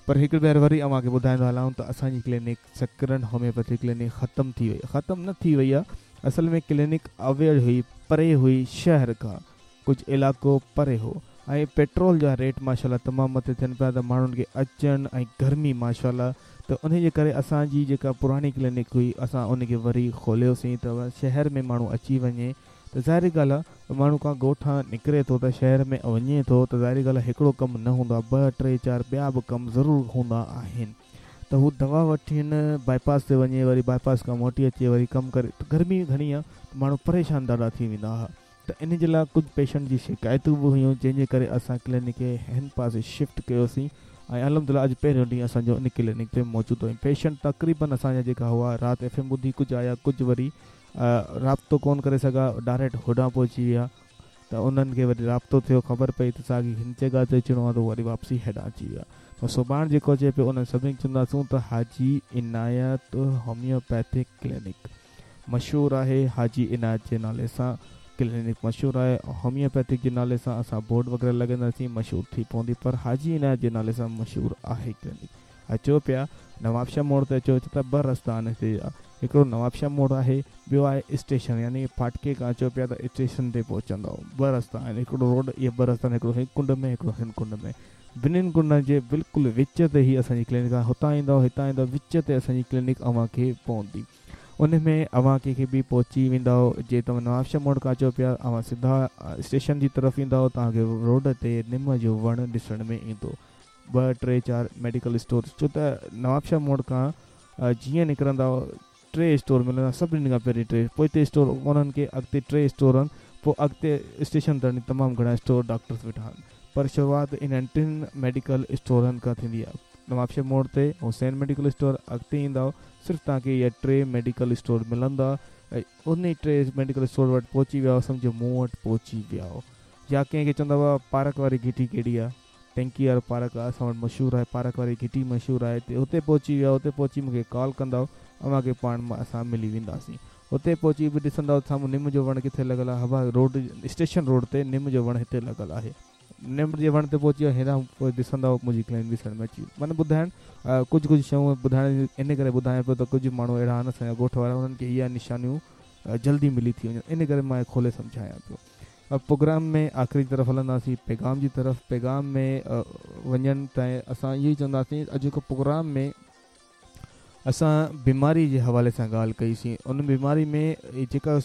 پر هڪ ڀير وري اوهان کي ٻڌائيندو هلان ته اسان جي ڪلينڪ سڪرنڊ هوميوپيٿڪ ڪلينڪ ختم ٿي وئي ختم نه ٿي وئي آهي اصل ۾ ڪلينڪ اوير هئي پري هئي شهر کان ڪجهه علائقو پري هو ۽ پيٽرول جا ريٽ ماشاءالله تمام مٿي ٿين پيا ته ماڻهن کي اچڻ ۽ گرمي ماشاءالله ته انهي جي ڪري اسان جي جيڪا پراڻي ڪلينڪ هئي اسان ان کي وري کوليوسين ته شهر ۾ ماڻهو اچي وڃي ته ظاهري ڳالهه آ ماڻهو ڪا ڳوٺان نڪري ٿو ته شهر ۾ وڃي ٿو ته ظاهري ڳالهه آ هڪڙو ڪم نه هوندو آ ٻه ٽي چار ٻيا به ڪم ضرور هوندا آهن ته هو دوا وٺين بائي پاس تي وڃي وري بائي پاس کان موٽي اچي وري ڪم ڪري ته گرمي گهڻي آ ته ماڻهو پريشان ڏاڍا ٿي ويندا ها ته ان جي لاء ڪجهه پيشنٽ جي شڪايتون به هيون جنهن جي ڪري اسان ڪلينڪ کي هن پاسي شفٽ ڪيوسين ۽ الحمدلله اڄ پهريون ڏينهن اسان جو ان ڪلينڪ تي موجود آهيون پيشنٽ تقريبن اسان جا جيڪا هئا رات ايف ايم ٻڌي ڪجهه آيا ڪجهه وري رابطو ڪون ڪري سگها ڊائريڪٽ هوڏانهن پهچي ويا ته انهن کي وري رابطو ٿيو خبر پئي ته ساڳي هن جڳهه تي اچڻو آهي ته وري واپسي هيڏانهن اچي ويا ته سڀاڻ جيڪو اچي پيو انهن سڀني کي چونداسون ته حاجي عنايت هوميوپيٿڪ ڪلينڪ مشهور آهي حاجي عنايت جي نالي سان ڪلينڪ مشهور آهي هوميوپيٿڪ جي نالي سان اسان بورڊ وغيره لڳائينداسين مشهور ٿي پوندي پر حاجي عنايت جي نالي سان مشهور آهي ڪلينڪ اچو پيا نوابشاهه موڙ تي اچو ڇو ته ٻه رستا آهن هتي جا هڪڙو نوابشاهه موڙ آهي ٻيو آهي اسٽيشن يعني ڦاٽڪي کان اچو پيا ته اسٽيشن تي پهچندؤ ٻه رستا آهن هڪڙو روڊ اهي ٻه رستا آهن هڪڙو هن ڪنڊ ۾ هڪڙو هن ڪنڊ ۾ ٻنهين ڪنڊن جي بلڪل وچ تي هي اسان جي ڪلينڪ آهي هتان ايندؤ هتان ايندؤ وچ تي اسان جي ڪلينڪ اوهان کي پوندي ان ۾ اوهان ڪنهن کي به پهچي ويندؤ جي توهان نوابشاهه موڙ کان اچو پيا اوهان سڌا اسٽيشن جي طرف ايندؤ توهان کي روڊ تي نم جو وڻ ڏسڻ ۾ ايندو ٻه ٽي چار ميڊيڪل اسٽور ڇو ته نوابشاهه موڙ کان جيئن نڪرندؤ ٽي اسٽور ملندا سڀني کان پهرين ٽي پوئتي اسٽور ڪونهن ڪي اڳتي ٽي اسٽور آهن پوء اڳتي اسٽيشن تائين تمام گهڻا اسٽور ڊاڪٽرس ويٺا آهن پر شروعات انهن ٽن ميڊيڪل اسٽورن کان ٿيندي آهي نوابشاهه موڙ تي حسين ميڊيڪل اسٽور اڳتي ايندؤ صرف توهان کي اهي ٽي ميڊيڪل اسٽور ملندا ۽ انهي ٽي ميڊيڪل اسٽور وٽ پهچي ويا سمجهو مون وٽ پهچي ويا يا ڪنهن کي چوندؤ پارڪ واري گهٽي ڪهڙي آهي ٽينڪي وارو پارڪ آهي اسان وٽ مشهور آهي پارڪ واري گهٽي مشهور آهي اتي اتي پهچي ويا اتي پهچي مون کي ڪال ڪندؤ اوهان کي پاڻ اسان ملي وينداسين اتي پهچي به ڏسندؤ سامهون نم جو وڻ ڪٿي لڳل آهي هوا روڊ اسٽيشن روڊ تي نم جو وڻ هتي لڳل آهي نم جي وڻ تي پهچي ويا هيڏانهن پوء ڏسندؤ منهنجي ڪلينڪ ڏسڻ ۾ اچي وئي معنيٰ ٻڌائڻ ڪجهه ڪجهه شيون ٻڌائڻ ان ڪري ٻڌايان پيو ته ڪجهه ماڻهو اهڙا آهن اسان جا ڳوٺ وارا انهن کي اها نشانيون جلدي ملي ٿي وڃن ان ڪري مان کولي سمجهايان پيو پروگرام ۾ آخري طرف هلنداسين پيغام جي طرف پيغام ۾ وڃڻ تائين اسان اهو ئي چونداسين اڄوڪو پروگرام ۾ اسان بيماري جي حوالي سان ڳالهه ڪئي سين ان بيماري ۾ جيڪا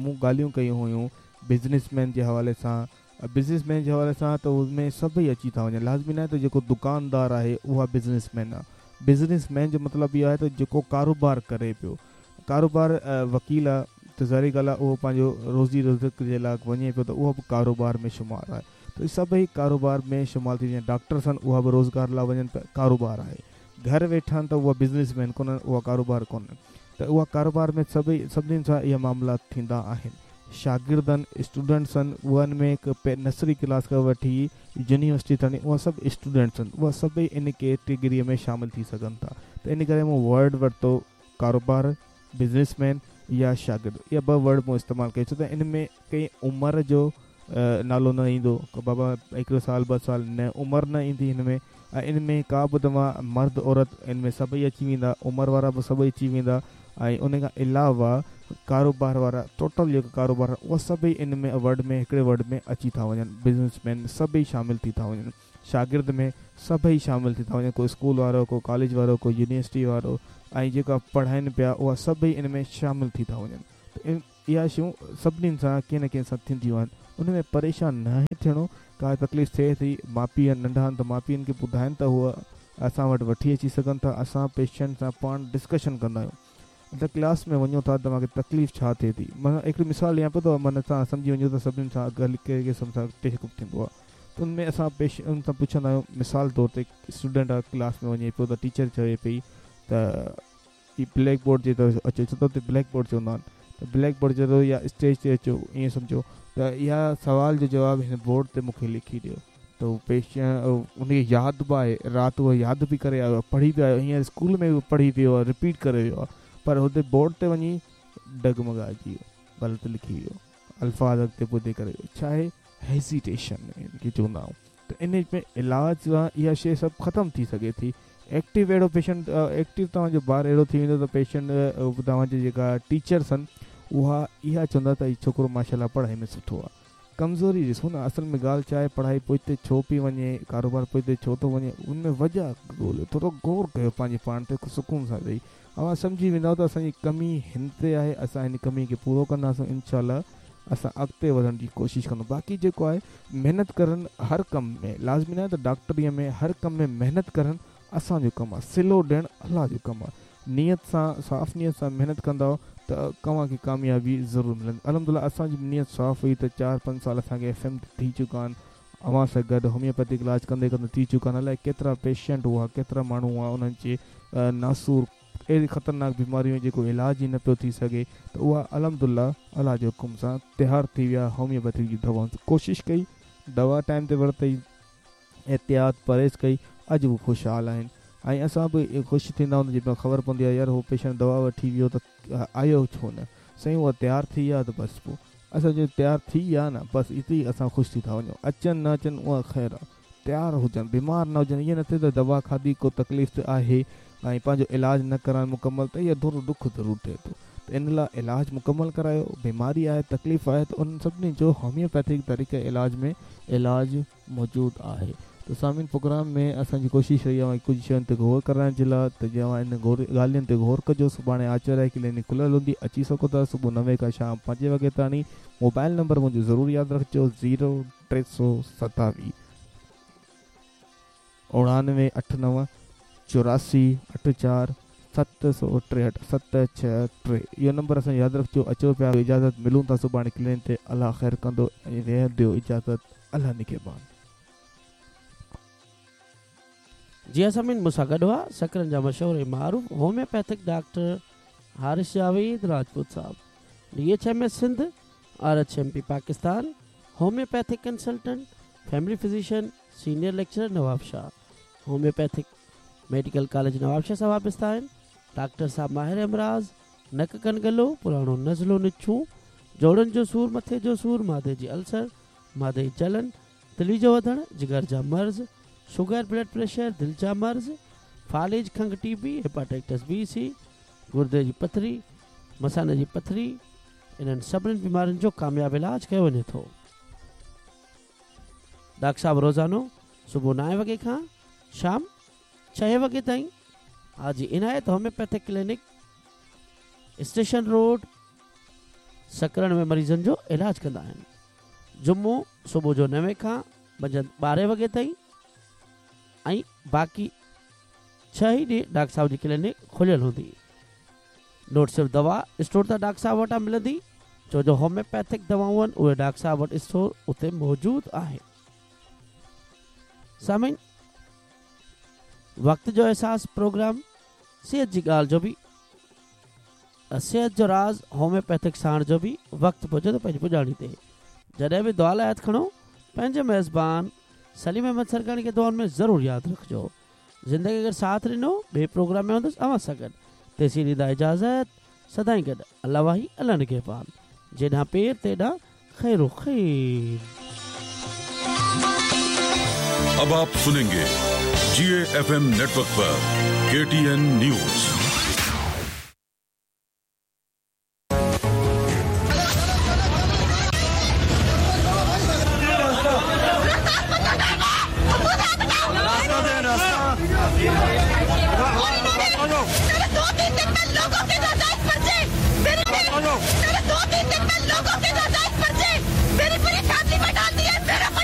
مون ڳالهيون ڪيون هيون بزنس مين جي حوالي سان بزنس مين جي حوالي سان ته ان ۾ سڀئي اچي ٿا وڃن لازمي ناهي ته جيڪو دڪاندار آهي اها بزنس مين آهي بزنس مين جو مطلب اهو آهي ته جيڪو ڪاروبار ڪري پيو ڪاروبار وڪيل آهي ته ظاهري ڳالهه آهي اهو پنهنجو روزي رزق جي لاء وڃي پيو ته اهو به ڪاروبار ۾ شمار آهي ته سڀئي ڪاروبار ۾ شمار ٿي وڃن ڊاڪٽرس آهن اها به روزگار لاء وڃن پيا ڪاروبار آهي گهر ويٺا آهن ته اها بزنس مين ڪونهن اها ڪاروبار ڪونهن ته اها ڪاروبار ۾ سڀئي سڀني سان اها معاملا ٿيندا آهن شاگردن اسٽوڊنٽس آهن اهن ۾ هڪ نرسري ڪلاس کان وٺي يونيورسٽي تائين اها سڀ اسٽوڊنٽس آهن اها سڀئي ان ڪيٽيگري ۾ شامل ٿي سگهن ٿا ته ان ڪري مون ورڊ ورتو ڪاروبار بزنس مين يا شاگرد اها ٻه ورڊ مون استعمال ڪيو ڇو ته ان ۾ ڪنهن عمر جو نالو نه ايندو بابا هڪڙو سال ٻه سال نه عمر نه ايندي هن ۾ ۽ ان ۾ ڪا به توهان مرد عورت ان ۾ سڀئي اچي ويندا عمر وارا به سڀئي اچي ويندا ۽ ان کان علاوه ڪاروبار وارا ٽوٽل جيڪا ڪاروبار اها سڀئي ان ۾ ورڊ ۾ هڪڙي ورڊ ۾ اچي ٿا وڃن بزنس مين سڀئي شامل ٿي ٿا وڃن شاگرد ۾ سڀئي شامل ٿي ٿا وڃن ڪو اسڪول وارو ڪو ڪاليج وارو ڪو يونيورسٽي وارو ۽ جيڪا پڙهائين پيا اها سڀئي ان ۾ شامل ٿي ٿا وڃن ته اها شيون سڀني سان ڪنهن نه ڪنهن سان ٿينديون آهن ان ۾ پريشان ناهي ٿيڻو ڪا تڪليف ٿئي ٿي ماء پيء ننڍا آهن ته ماء پيئن کي ٻڌائن ته هو اسان وٽ وٺي اچي سگهن ٿا اسان پيشنٽ سان پاڻ ڊسڪشن ڪندا آهيون ته ڪلاس ۾ وڃو ٿا توهان کي تڪليف ڇا ٿئي ٿي معنيٰ هڪڙي مثال ڏيان پيو ته معنيٰ توهان سمجهي وڃو ته سڀني سان ڪهڙي قسم سان چيڪ اپ ٿيندو آهي ته ان ۾ اسان پيشنٽ سان پڇندا آهيون مثال طور تي اسٽوڊنٽ آهي ڪلاس ۾ وڃي پيو ته ٽيچر چوي پئي ته هي بليڪ بورڊ جي طرف اچو ڇو ته اتي بليڪ بورڊ چوندا آهن ته بليڪ بورڊ جي طرف يا اسٽيج تي اچو ائين سمجهو ته اها سوال جو جواب هن بورڊ تي مون کي لکي ڏيو ته هو پيش ان کي ياد به آهي رات اهو ياد به ڪري آيو آهي پڙهي به آيو هينئر اسڪول ۾ به پڙهي ويو آهي رپيٽ ڪري ويو آهي پر هتي بورڊ تي وڃي ڊگمگائجي ويو غلط لکي ويو الفاظ اڳتي پوئتي ڪري ويو ڇا آهي هيزيٽيشن ان کي چوندا آهيون ته ان ۾ علاج سان اها شيء سڀ ختم ٿي سگهي ٿي. ايڪٽو اهڙو پيشنٽ ايڪٽو توهان جو ٻار اهڙو ٿي ويندو ته پيشنٽ توهان جي جيڪا ٽيچرس آهن اها اها چوندا ته هي ڇوڪرو ماشاء الله پڙهائي ۾ سٺو آهي. ڪمزوري ڏسو نه اصل ۾ ڳالهه ڇا آهي پڙهائي پوئتي ڇو پئي وڃي ڪاروبار پوئتي ڇو ٿو وڃي ان ۾ وجهه ڳوليو ٿورو غور ڪيو پنهنجي پاڻ تي سڪون سان ويهي اوهان سمجهي ويندؤ ته اسان جي ڪمي هن تي آهي اسان هن ڪمي کي پورو ڪنداسون انشاء الله اسان اڳتي وڌڻ جي ڪوشش ڪندون باقي جيڪو آهي محنت ڪرڻ هر ڪم ۾ لازمي ناهي ته ڊاڪٽري ۾ هر ڪم ۾ محنت ڪرڻ اسان جو ڪم آهي صلو ڏيڻ الله جو ڪم آهي نيت سان صاف نيت سان محنت ڪندؤ ته اوهان کي ڪاميابي ضرور ملندي الحمدلله اسان جي نيت صاف هئي ته چار پنج سال اسان کي ايف ايم تي ٿي چڪا آهن اوهان سان گڏ هوميوپيٿڪ علاج ڪندي ڪندي ٿي چڪا آهن الائي ڪيترا پيشنٽ هئا ڪيترا ماڻهو هئا انهن جي ناسور اهڙي خطرناڪ بيماريون جيڪو علاج ئي نه پيو ٿي سگهي ته اها الحمدلله الله جي حڪم سان تيار ٿي ويا هوميوپيٿڪ جي دوائن سان ڪوشش ڪئي دوا ٽائيم تي ورتي احتياط پرهيز ڪئي اڄ هو خوشحال آهن ۽ اسان به خوش ٿيندا آهيون جڏهن خبر پوندي آهي يار هو پيشنٽ دوا وٺي ويو ته آيو ڇو نه سائين اها تيار ٿي ويا ته بس پوء اسان چيو تيار ٿي ويا نه بس اتي ئي اسان خوش ٿي ٿا وڃون اچن نه اچن اها خير آ تيار هجن بيمار نه هجن ائين نه ٿئي ته دوا کاڌي ڪو تڪليف ته آهي ۽ پنهنجو علاج نه ڪرائن مڪمل ته اها ٿورو ڏک ضرور ٿئي ٿو ته ان لاء علاج مڪمل ڪرايو بيماري آهي تڪليف آهي ته انهن سڀني جو هوميوپيٿڪ طريقي علاج ۾ علاج موجود آهي ته سامعين پروگرام ۾ اسان جي ڪوشش رهي اوهان کي ڪجهه شين تي غور ڪرائڻ جي لاء ته جي اوهان ان غور ڳالهين تي غور ڪجو سڀاڻي آچر آهي ڪلينڪ کليل هوندي اچي سگهو ٿا صبح نوين کان شام پنجين وڳي تاڻي موبائل نمبر منهنجو ضرور ياد رکجو زيرو ٽي سو ستاويهه اوڻانوي اٺ نو 84 اٺ چار 763 7 6 3 اهو نمبر اسان جو ياد رکجو اچو پيا اجازت ملون ٿا سڀاڻي ڪلينڪ تي الله خير ڪندو ۽ ويهه ڏيو اجازت الله نگهبان. جي ها سامعين مون سان گڏ هئا سڪرنڊ جا مشهور ۽ معروف هوميوپيٿڪ ڊاڪٽر حارث جاويد راجپوت صاحب D H M S Sindh R H M P Pakistan homeopathic consultant family physician senior lecturer Nawabshah homeopathic medical college Nawabshah سان وابسته آهن. ڊاڪٽر صاحب ماهر امراض، نڪ ڪن گلو، پراڻو نزلو نڇون، جوڙن جو سور، مٿي جو سور، معدي جي السر، معدي جي جلن، تلي جو وڌڻ، جگر جا مرض، شگر، بلڊ پريشر، دل جا مرض، فالج، کنگهه ٽي بي، هيپاٽائٽس بي، سي، گردي جي پٿري، مثاني جي پٿري، انهن سڀني بيمارين جو ڪامياب علاج ڪيو وڃي ٿو. ڊاڪٽر صاحب روزانو صبح نائين وڳي کان شام ڇهين وڳي تائين حاجي عنايت homeopathic clinic station road Sakrand ۾ مريضن جو علاج ڪندا آهن. جمعو صبح جو نوين کان منجهند ٻارهين وڳي تائين ۽ باقي ڇهه ئي ڏينهن ڊاڪٽر صاحب جي ڪلينڪ کليل هوندي. نوٽ صرف دوا اسٽور تان ڊاڪٽر صاحب وٽان ملندي ڇو جو هوميوپيٿڪ دوائون آهن اهي ڊاڪٽر صاحب وٽ اسٽور اتي موجود آهي. سامعين وقت جو احساس پروگرام صحت جي ڳالهه جو به صحت جو راز هوميوپيٿڪ ساڻ جو به وقت پهچي ٿو پنهنجي پڄاڻي تي جڏهن به دعا لاء هٿ کڻو پنهنجي ميزبان سليم احمد سرڪاڻي کي دعائن ۾ ضرور ياد رکجو زندگي اگر ساٿ ڏنو ٻئي پروگرام ۾ هوندس اوهان سان گڏ تيسين ڏيندا اجازت سدائين گڏ الله واهي الله نگهبان جيڏانهن پير تيڏانهن خير و خير. اب آپ سنينگي. जीए एफएम नेटवर्क पर केटीएन न्यूज़।